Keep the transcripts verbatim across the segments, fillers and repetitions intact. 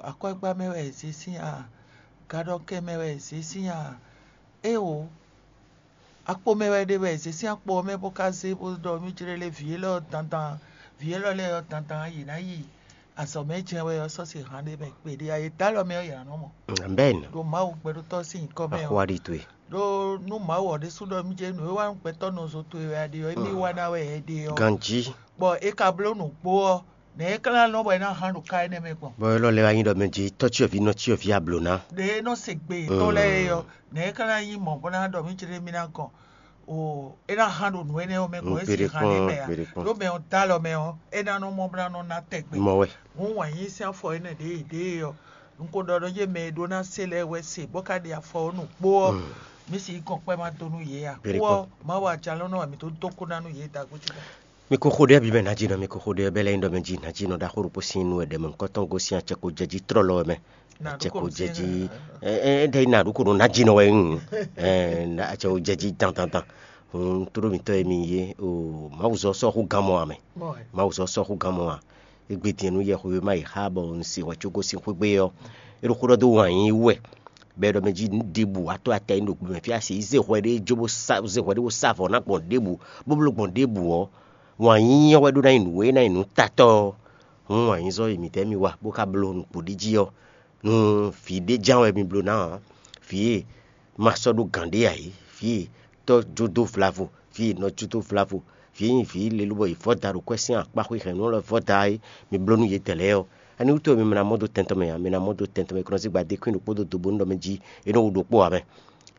Akwɛ́gbá mɛ wɛ è zě sín a? Gaɖɔkɛn mɛ wɛ è zě sín a? Éeǒ, akpo mɛ wɛ è ɖe bɔ è zě sín akpo ɔ́ mɛ bó ka zé bó ɖɔ mì jlé lé vǐ élɔ́ dandan, vǐ élɔ́ lɛ́ɛ ɔ́ dandan yě ná yi azɔ̌ mɛ jɛ́n wɛ ɔ́ sɔ́ se han ɖé mɛ kpeɖé a? Yě dó alɔ mɛ ɔ́ yě ná nɔ mɔ. Amɛn. Ɖo Mawu gbɛɖótɔ́ sín nyǐkɔ mɛ ɔ́. Axwá ɖi towe. Ɖó nú Mawu ɔ́ ɖésú ɖɔ mì jɛ nǔ e wa nú gbɛtɔ́ nɔzo towe wɛ a ɖe ɔ́, émí wa ná wɛ ɛ ɖe ɔ́. Ganjí. Bɔ é ka bló nǔgbó ɔ́, nɛ̌ é ka ná nɔ bɔ é ná hán ɖo ká énɛ́ mɛ gbɔn? Bɔ élɔ́ lɛ́ wá nyí ɖɔ mɛ jí tɔ́ cyɔ́ví nɔ cyɔ́ví ablǒ ná. Ɖě é nɔ se gbe yětɔn lɛ́ɛ é ɔ́, nɛ̌ é ka ná nyí mɔ̌ bó ná ɖɔ mì jlé mì ná gɔn? O, é ná hán ɖo nǔ énɛ́ ɔ́ mɛ gbɔn é si hán n'i mɛ ǎ. Ɖó mɛ ɔ́ dó alɔ mɛ ɔ́, é ná nɔ mɔ bó ná nɔ ná tɛgbɛ. Mɔ wɛ. Hǔn wǎn yí sín afɔ énɛ́ ɖě yě ɖe é ɔ́, un ko ɖɔ ɖɔ yé mɛ e ɖó ná se lɛ́ɛ wɛ se bó ka ɖe afɔ ɔ́ nǔgbó ɔ́, mǐ sixú gɔn kpɛ́ ma dó nú yě ǎ. Kú ɔ́, Mawu ajalɔ́nɔ wɛ mǐ tó dó kú ná nú yě dagbo ce. Mi ko xo ɖé bǐ mɛ nǎjínɔ, mi ko xo ɖé bɛ́ lɛ́ nyí ɖɔ mɛ jí nǎjínɔ ɖaxó ɖokpó sín nú wɛ ɖɛ̌mɛ nukɔntɔn gosín acɛ ko jɛ jí tlɔ́lɔ wɛ mɛ. Acɛ ko jɛ jí. Ɛ ɛ ɖe ná ɖu ko ɖo nǎjínɔ wɛ. Acɛ ko jɛ jí dandandan. Tló mǐtɔn e mi yé o, Mawu zɔ sɔ́ xú gán mɔ ǎ mɛ. Mawu zɔ sɔ́ xú gán mɔ ǎ. Égbé din nú yɛxwéma yi xá bɔ un se hwɛ có gosín xwé gbe ɔ́, é ɖo xó ɖɔ dó wǎn yí wɛ. Bɔ é ɖɔ mɛ jí nǔ ɖěbǔ wá tó atɛ nyi ɖo gbe mɛ fí asi yi zé hwɛ ɖé jó bó sa zé hwɛ ɖé bó sa avɔ ná gbɔn ɖěbǔ, bó bló gbɔn ɖěbǔ ɔ́, wǎn yíyí ɔ́ wɛ ɖó ná nyí nǔ e ná nyí nǔ tatɔ́ ɔ́. Hǔn wǎn yízɔ́ e mǐtɛ́ mì wa bó ka bló nǔ kpo ɖ'é jí ɔ́, nú vǐ ɖé ján wɛ mi bló ná ǎ. Vǐ e ma sɔ́ ɖó gǎn ɖé ǎ é, vǐ e tɔ́ jó dó vlavo, vǐ e nɔ jó dó vlavo, vǐ e nyí vǐ lé lóbɔ è vɔ́ da ɖo kwɛ́ sín akpáxwé hɛ̌nnu lɛ́ɛ vɔ́ da é, mi bló nú yědɛɛ lɛ́ɛ ɔ́, ani wútu wɛ mi ma ná mɔ dó tɛn tɔn mɛ ǎ? Mi ná mɔ dó tɛn tɔn mɛ, è ko nɔ zé gbadé kwín ɖokpó dó do bónú ɖɔ mɛ jí é nɔ wú ɖokpó ǎ mɛ.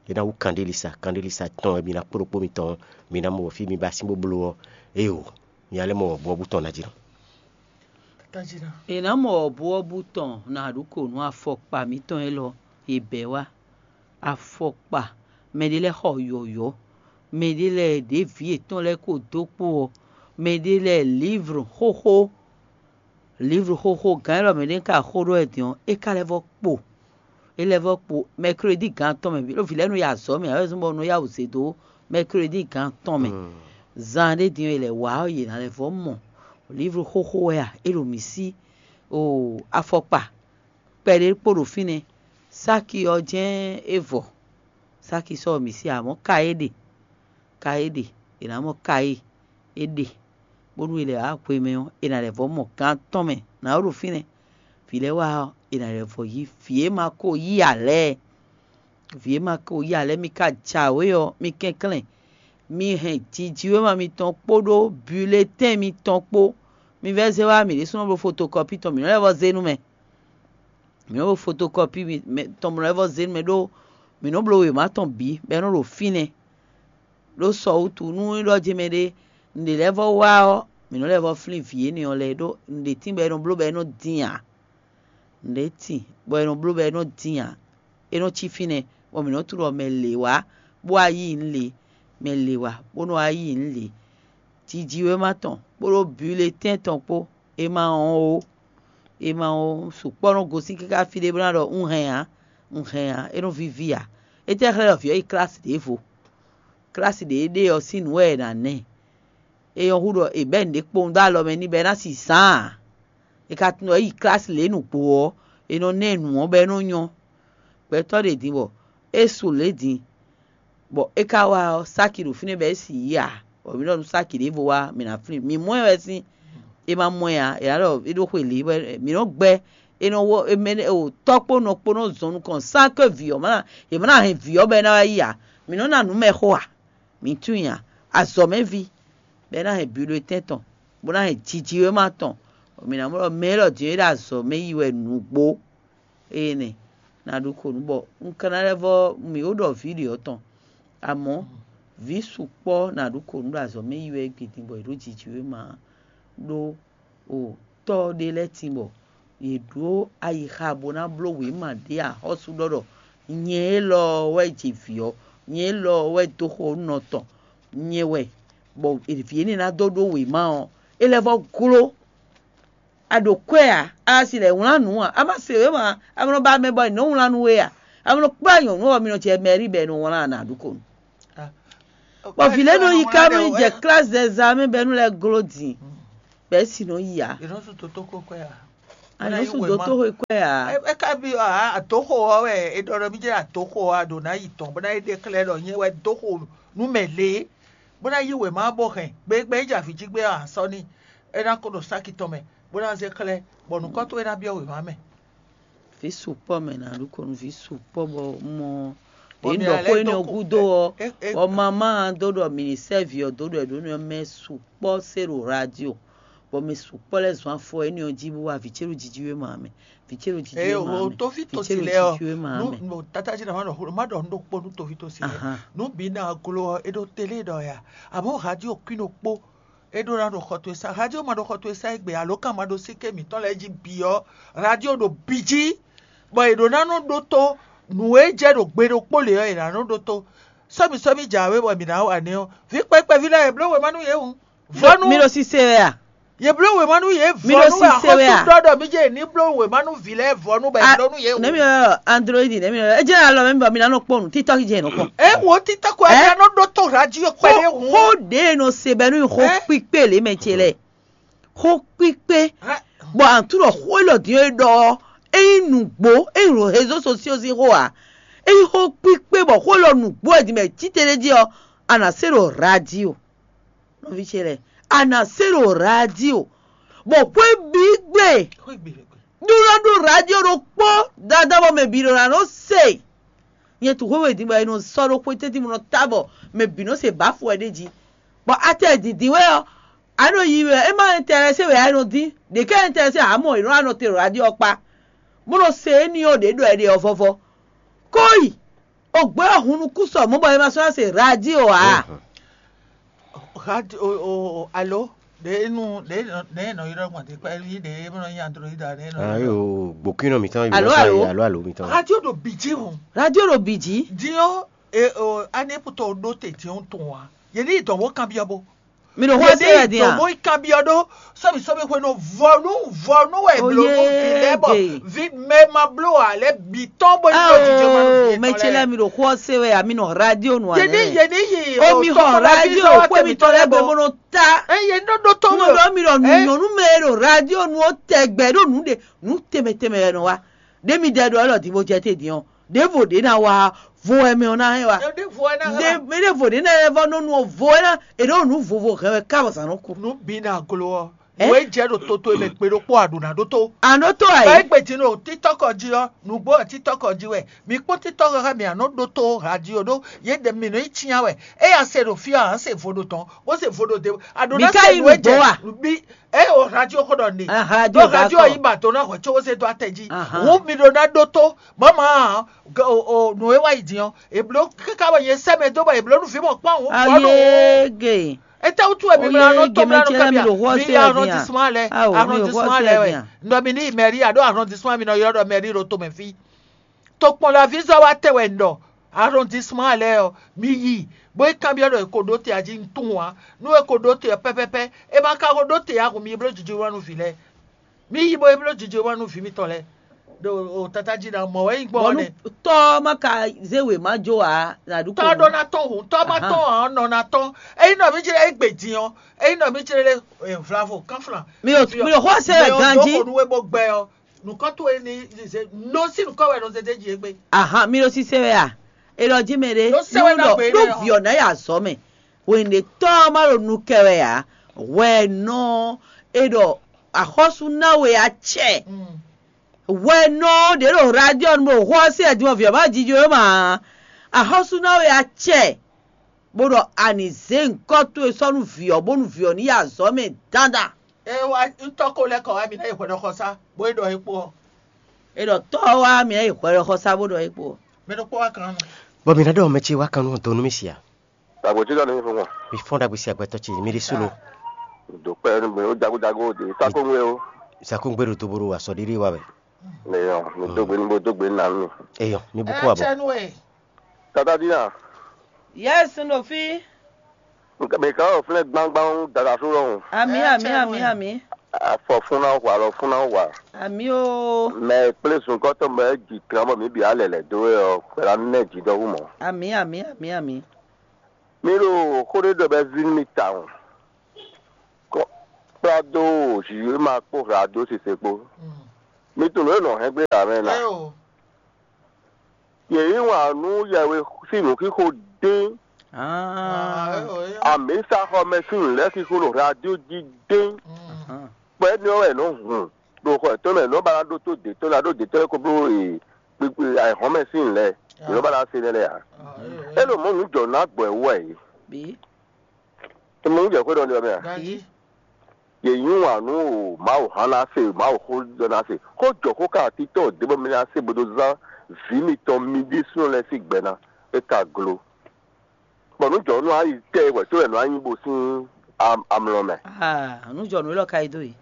É ná wú kanɖélisa, kanɖélisa tɔn wɛ mi ná kpó ɖokpó mitɔn, mi ná mɔ bɔ fí mi ba sín bó bló ɔ́, éeǒ, mi ná lɛ́ mɔ wɔ̌buwɔ́bú tɔn ná jí nɔ. È nǎ mɔ wɔ̌buwɔ́bú tɔn nǎ ɖu kǒ nú afɔkpa mǐtɔn élɔ́ e bɛ̌ wá. Afɔkpa, mɛɖé lɛ́ɛ xɔ yɔ̌yɔ́, mɛɖé lɛ́ɛ ɖě vǐ yětɔn lɛ́ɛ ko dó kpó ɔ́, mɛɖé lɛ́ɛ lǐvlu xóxó, lǐvlu xóxó gǎn élɔ́ mɛ ɖé ka xó ɖó wɛ din ɔ́, é ka lɛ́ vɔ́ kpo. É lɛ́ vɔ́ kpo mɛkrédi gǎn tɔn mɛ bǐ, ɖó vǐ lɛ́ɛ nɔ yi azɔ̌ mɛ ǎ, é zɔ́n bɔ un nɔ yá wǔ zé dó mɛkrédi gǎn tɔn mɛ. Zan ɖé din ɔ́, è lɛ̌ wá ɔ́, yě ná lɛ́ vɔ́ mɔ. Lǐvlu xóxó wɛ a? É ɖo mǐ sí. Oo, afɔkpa kpɛɖé kpo ɖo fínɛ́. Sáki ɔ́ jɛ́n é vɔ. Sáki sɔ́ mǐ sí, amɔ̌ ka é ɖe. Ka é ɖe. È nǎ mɔ ka é é ɖe, bónú è lɛ̌ wá hwemɛ ɔ́, è nǎ lɛ́ vɔ́ mɔ gǎn tɔn mɛ nǎ ɖo fínɛ́. Vǐ lɛ́ɛ wá ɔ́, è nǎ lɛ́ vɔ́ yí vǐ e ma ko yí ǎ lɛ́ɛ. Vǐ e ma ko yí ǎ lɛ́ɛ, mi ka jǎwe ɔ́, mi kɛnklɛ́n. Mi hɛn jijǐwéma mitɔn kpódó bulɛtɛ́n mitɔn kpó. Mi vɛ́ zé wá mǐ ɖésúnɔ bló fotokɔ́pi tɔn, mǐ nɔ́ lɛ́ vɔ́ zé nú mɛ. Mǐ nɔ́ bló fotokɔ́pi tɔn, mǐ nɔ́ lɛ́ vɔ́ zé nú mɛ ɖó mǐ nɔ́ bló wěma tɔn bǐ, bɔ é nɔ́ ɖo fínɛ́. Ɖó sɔ wútu, nú é ɖɔ jɛ́n mɛɖé nǔɖé lɛ́ɛ vɔ́ wá ɔ́, mǐ nɔ́ lɛ́ vɔ́ flín vǐ énɛ́ ɔ́ lɛ́ɛ, ɖó nǔɖé tíin bɔ è nɔ bló bɔ é nɔ́ dín ǎ. Nǔɖé tíin bɔ è nɔ bló bɔ é nɔ́ dín ǎ. É nɔ́ cí fínɛ́, bɔ mǐ nɔ́ tunwun ɖɔ mɛ lě wá bó wá yí nǔ lě, mɛ lě wá bó nɔ́ wá yí nǔ lě. Jijǐwéma tɔn kpódó bulɛtɛ́n tɔn kpó, é ma wɔn ó. É ma wɔn ó, sukpɔ́ nɔ gosín káká fí ɖé bó ná ɖɔ un hɛn ǎ, un hɛn ǎ, é nɔ víví ǎ. Étɛ́ xlɛ́ ɖɔ vǐ ɔ́ yi klasi ɖěvo? Klasi ɖě é ɖe ɔ́ sín nǔ wɛ è nǎ ná ɛ. É nyɔ́ hú ɖɔ è bɛ́ nǔɖé kpowun dó alɔ mɛ n'i bɔ é ná si zǎn ǎ. È ka tunwun ɖɔ é yi klasi lě nǔgbó ɔ́, è nɔ ná ɛ nǔ ɔ́ bɔ é nɔ nyɔ́. Gbɛtɔ́ ɖě din bɔ é su lě din, bɔ é ka wá ɔ́, sáki ɖo fínɛ́ bɔ é si yí ǎ. Bɔ mǐ ɖɔ nú sáki ɖěvo wá, mǐ ná flín. Mǐ mɔ ɛ wɛ sín, è ma mɔ ɛ ǎ, è nǎ ɖɔ é ɖó xwe lě wɛ. Mǐ nɔ gbɛ́, è nɔ wɔ è mɛ ò tɔ́ kpó nɔ kpó nɔ zɔn nukɔn sán ké vǐ ɔ́ má ná, è má ná hɛn vǐ ɔ́ bɔ é ná wá yi ǎ. Mǐ nɔ́ ná nǔ mɛ xo ǎ. Mǐ tunwun nya, azɔ̌mɛví, bɔ é ná hɛn bulɛtɛ́n tɔn, bó ná hɛn jijǐwéma tɔn. Mǐ ná mɔ ɖɔ mɛ élɔ́ din é ɖo azɔ̌ mɛ yi wɛ nǔgbó. Énɛ́ ná ɖó kó nú bɔ un ka ná lɛ́ vɔ́ mǐ ó ɖɔ vǐ ɖě ɔ́ tɔn. Amɔ̌, vǐ sukpɔ́ ná ɖó kó nú ɖo azɔ̌ mɛ yi wɛ gbidin bɔ è ɖǒ jijǐwéma ɖó o tɔ́ ɖé lɛ́ɛ tin bɔ yě ɖó ayixa bó ná bló wěma ɖé axɔ́sú ɖɔ ɖɔ nyɛ élɔ́ wɛ jɛ vǐ ɔ́, nyɛ élɔ́ wɛ dó xo nɔ tɔn, nyɛ wɛ, bɔ vǐ énɛ́ ná dó ɖó wěma ɔ́, é lɛ́ vɔ́ gló. A ɖo kwɛ́ ǎ, a si lɛ́ wlán nǔ ǎ, a ma se wěma ǎ, a ma nɔ ba mɛ bɔ è nɔ́ wlán nú we ǎ, a ma nɔ kplá nyɔ̌nu ɔ́, mi nɔ jɛ mɛ̌ri bɔ è nɔ wlán ǎ ná ɖu ko nu. Bɔ vǐ lɛ́ɛ nɔ yi ká nɔ yi jɛ klasi zɛzɛ mɛ bɔ é nɔ lɛ́ gló din, bɔ é si nɔ yi ǎ. È nɔ sú tótókó kwɛ́ ǎ. Anúsú dó tó xwe kwɛ ǎ. É é ka byɔ́ ǎ, adǒxo ɔ́ wɛ è ɖɔ ɖɔ mì jɛ adǒxo ɔ́, a ɖǒ ná yi tɔn, bó ná yi ɖe xlɛ́ ɖɔ nyɛ wɛ dó xo nú mɛ lě, bó ná yí wěma ɔ́ bó hɛn. Gběgbé é jɛ avǐ jí gbé ɔ́, a sɔ́ n'i, é ná ko ɖo sáki tɔn mɛ, bó ná zé xlɛ́, bɔ nǔkɔn towe ná byɔ́ wěma mɛ. Vǐ sukpɔ́ mɛ nǎ ɖu kɔnu vǐ sukpɔ́ bɔ mɔ Bɔ ɖě mi ɖɔ ǎ xó lɛ́ énɛ́ dó ɔ́ kú- gúdo ɔ́, é- é- bɔ mamá dó ɖɔ mǐ ní sɛ́ vǐ ɔ́ dó ɖɔ è ɖǒ nú ɔ́ mɛ sukpɔ́ se ɖo radio, bɔ mɛ sukpɔ́ lɛ́ɛ zɔn afɔ énɛ́ ɔ́ jí bó wá vǐ ce ɖo jijǐwéma mɛ, vǐ ce ɖo Eye jijǐwéma o mɛ, toví vǐ ce tosi ɖo lɛ ɔ jijǐwéma nu mɛ. No tata jí na ma ɖɔ xó ma ɖɔ nu ɖokpó nu toví tosi lɛ Ahan. Nu bi na glo ɔ e ɖo télé ɖɔ ya. Àmọ́ radio kwín ɖokpó e ɖó ná ɖo xɔ towe sá. Radio ma ɖo xɔ towe sá égbé alo kan ma ɖo síké mǐtɔn lɛ́ɛ jí bǐ ɔ́, radio ɖo bǐ jí, bɔ è ɖǒ ná nɔ ɖótó nǔ e jɛ ɖo gbe ɖokpó lě ɔ́, è nǎ nɔ ɖótó. Sɔ́mi sɔ́mi jǎwe bɔ mǐ ná wa nɛ́ ɔ́, vǐ kpɛkpɛví lɛ́ɛ è bló wěma nú yě hǔn. Vɔ́ nú Mi ɖo sise wɛ a? Yě bló wěma nú yě Mi ɖo vɔ́ nú wɛ sise wɛ axɔ́sú a? Ɖɔ ɖɔ mí jɛ ní bló wěma nú vǐ lɛ́ɛ vɔ́ nú bɔ è A- bló nú yě hǔn. Nɛmi ɔ Android nɛmi ɔ edze alɔ mɛ bɔ mi na nɔ kpɔnu TikTok jɛ nɔ kpɔn. É wo TikTok ɛ Ɛ? Ná nɔ ɖótó radio Xó kpɛɖé hǔn. Xó ɖe nɔ se bɛ nú xó Ɛ? Kpíkpé lě mɛ ce lɛ. Xó kpíkpé. Ɛ? Bɔ àtúrɔ xó élɔ́ dín é ɖɔ ɔ́, é nyí nǔgbó, é nyí réseaux sociaux sín xó ǎ. É nyí xó kpíkpé bɔ xó élɔ́ nǔgbó wɛ din mɛ títɛ́ jí ɔ́, a nǎ se ɖo radio. Nɔví ce lɛ́ɛ, a nǎ se ɖo radio, bɔ xwé bǐ gbe Xwé gbe xwé gbe. Ɖó nɔ ɖó radio ɖokpó dáadáa bɔ mɛ bǐ ɖo ná nɔ se. Nyɛ tu xwé we din bɔ è nɔ sɔ́ ɖó xwé tɛ́ntin bó nɔ ta bɔ mɛ bǐ nɔ se bǎfo wɛ ɖ'é jí. Bɔ atɛ dǐndín wɛ ɔ́, a nɔ yi wɛ, é má intéressé wɛ a nɔ dín. Ɖě ká intéressé ǎ mɔ è nɔ wá nɔ te ɖo radio ɔ́ kpá, bó nɔ se éní ɔ́ ɖě ɖɔ è ɖe ɔ́ vɔvɔ. Kóyi, o gbé ɔ́ hun nukún sɔ mɔ̌ bɔ è ma sɔ́ ná se radio ǎ. Radio o o o alo ɖe nu ɖe nɔ ɖe nɔ yrɔ gbɔn ti kpɛ yi ɖe e nɔ nyi android a ɖe nɔ Ah, yo, gbokínɔ mǐtɔn yi Alo, website, alo. Alo, alo mǐtɔn. Radio ɖo biji o. Radio ɖo biji. Diɔ e o ani puto ɖo te diɔ tɔn wa. Ye ni dɔn wo kan biɔ bo. Mi ɖo xɔ se wɛ din a? Dɔn wo kan biɔ ɖo sɔmi sɔmi hwe no vɔnu vɔnu wɛ blo no vi lɛ bɔ vi mɛ ma blo a lɛ bi tɔn bo yi ɖo jijɔ ma no vi mɛ tse lɛ mi ɖo xɔ se wɛ a mi nɔ radio nu a. Ye ni ye ni yi o mi xɔ radio kpɛ mi tɔ lɛ bɛ mo nɔ ta. Eye nɔ ɖo tɔn Nɔ ɖɔ mi ɖɔ nyɔnu mɛ ɖo radio nu o tɛgbɛ ɖo nu ɖe nu tɛmɛ tɛmɛ wɛ nɔ wa. Ɖe mi dɛ ɖɔ ɛlɔ di bo jɛ te din ɔ. Ɖevo ɖe na wa vo wɛ mɛ ɔ na hɛn wa. Ɖe vo wɛ na hɛn wa. Ɖe ɖevo ɖe na yɛ vɔ nɔ nu o vo wɛ na e ɖo nu vovo hɛn wɛ ka bɔ zan nɔ ku. Nu bi na glo ɔ. Ɛ? Wo e jɛ ɖo toto e mɛ gbe ɖokpó a ɖo na ɖo to. A nɔ to ayi. Ba egbe din o titɔkɔ ji ɔ nugbo ɔ titɔkɔ ji wɛ mi kpɔn titɔkɔ hɛ mi a nɔ ɖo to radio ɖo ye ɖe mi nɔ yi tia wɛ. Eya se ɖo fi a se vo ɖo tɔn wo se vo ɖo de a ɖo Mi na ka se yi nu e nugbo jɛ a? Bi e o radio ko ɖɔ ne. Ah, radio Ɖo radio dakɔ. Yi ba to na hɔ tso wo se do atɛ ji. Ahan. Wo mi ɖo na ɖo to mama o o nu e wa yi din ɔ e blo kaka bɔ ye sɛ mɛ do bɔ e blo nu fi mɔ kpɔn o. Ayege. Etɛwutu wɛ mi mla nɔ Oye, tɔn mla nɔ gemɛ ce lɛ mi kabia ɖo xɔ mi se yɛ din a? Arrondissement lɛ Awo, mi ɖo xɔ se yɛ din a? Arrondissement lɛ wɛ ndɔ mi ni mɛri alo arrondissement mi nɔ yɔ ɖɔ mɛri ɖo tomɛ fi tokpɔnlavi zɔ wa tɛ wɛ ndɔ arrondissement lɛ ɔ mi yi bo e kanbiɔ ɖɔ e ko ɖo te aji ntun wa nu e ko ɖo te ɔ pɛpɛpɛ e ma ka ko ɖo te ahun mi blo jiji wa nu vi lɛ mi yi bo e blo jiji wa nu vi mitɔn lɛ ɖo o tata ji na mɔ wɛ yi gbɔ Bɔnu nɛ. Tɔ ma ka zé wema jo a na ɖu Tɔ ɖɔ na tɔn hun tɔ ma Ahan. Tɔn hàn nɔ na tɔn eyi nɔ mi jẹ egbe din ɔ eyi nɔ mi jẹ le vlavo kanflan. Mi o mi o xɔ se wɛ ganji. Ko nu we bo gbɛ ɔ nukɔ to e ni ze no si nukɔ wɛ no zeze ji egbe. Ahan mi o si se wɛ a. E lɔ ji mɛ ɖe. No se wɛ na gbe ɖo ne ɔ. Viɔ na ya zɔ mɛ. Wende tɔ ma ɖo nu kɛ wɛ a. Wɛ nɔ e ɖɔ axɔsu na we a cɛ. Mm. Hwɛnɔ ɖě ɖo radio nu ɖo xó ɔ́ sí wɛ din ɔ́, vǐ ɔ́ má jijɔ é ma ǎ. Axɔ́sú ná we acɛ, bó ɖɔ a nǐ zé nyǐkɔ towe sɔ́ nú vǐ ɔ́, bónú vǐ ɔ́ ní yi azɔ̌ mɛ dandan. É wá ntɔ́ ko lɛ́ kɔ wá mǐ ná yi hwɛɖɔxɔsá, bó yi ɖɔ é kpó ɔ́. É ɖɔ tɔ́ ɔ́ wá mǐ ná yi hwɛɖɔxɔsá bó ɖɔ é kpó ɔ́. Mɛ ɖokpó wá kan nɔ. Bɔ mǐ ná ɖɔ mɛ ce wá kan nú ɔ́ dó nú mì sia. Dagbo tí lɔ ní fún wọn. Mi fɔ́n ɖagbe sí agbɛtɔ ce mi ɖi súlo. Do kpɛ ní gbé ó jago jago ó de sákóngbé ó. Sakúngbé ɖo doboro asɔ ɖiɖi wa wɛ. Nìyọ, mi dógbe ní bó dógbe ní nà mí. Eyɔ, mi bu kó abɔ. Tata dín à. Yes, n ɖo fí. Nka mi kan ò flɛ gbangban dada so lɔhùn. Ami, ami, ami, ami. Afɔ fún náà wà lọ fún náà wà. Ami o. Mɛ kplé sunkɔtɔ mɛ dzi kan bɔ mi bi alɛ lɛ do ɔ kpɛlɛ nɛ dzi dɔ wu mɔ. Ami, ami, ami, ami. Mi ɖo xó ɖé ɖɔ bɛ zin mi tawun. Kɔ kpla dó zǐwe ma kpó hlǎ dó sise kpó. Mi tunwun nǔ e nɔ hɛn gbé ɖa mɛ na. Yě yí wǎn nú yɛwe sín nǔxixo dín. Amǐsaxɔmɛ sín nǔ lɛ́ɛ xixo ɖo radio jí dín. Kpɛ́ ní ɔ́ wɛ nǔ hun ɖo xɔ yětɔn mɛ, nǔ ba ná ɖótó dě tɔn ná ɖó dě tɔn lɛ́ɛ ko bló kpikpi ayǐhɔ́n mɛ sín nǔ lɛ́ɛ. Yě nɔ ba ná se nɛ́ lɛ́ɛ ǎ. É ɖo mɔ̌ nǔ jɔ nǔ agbɔ̌ wú wɛ yě. Mɔ nǔ jɛ xwé ɖɔ ní ɔ́ mɛ a? Yě yí wǎn nú Mawu hán ná se, Mawu xó jɔ ná se. Xó jɔ xó ka títɔn dě bɔ mi ná se bó dó zán vǐ mitɔn mi ɖésúnɔ lɛ́ɛ sín gbɛ ná. É ka glo. Bɔ nǔ jɔ nú ayi tɛ wɛ tó wɛ nǔ anyi bo sín amlɔ mɛ. Nǔ jɔ nǔ élɔ́ ka yi dó e.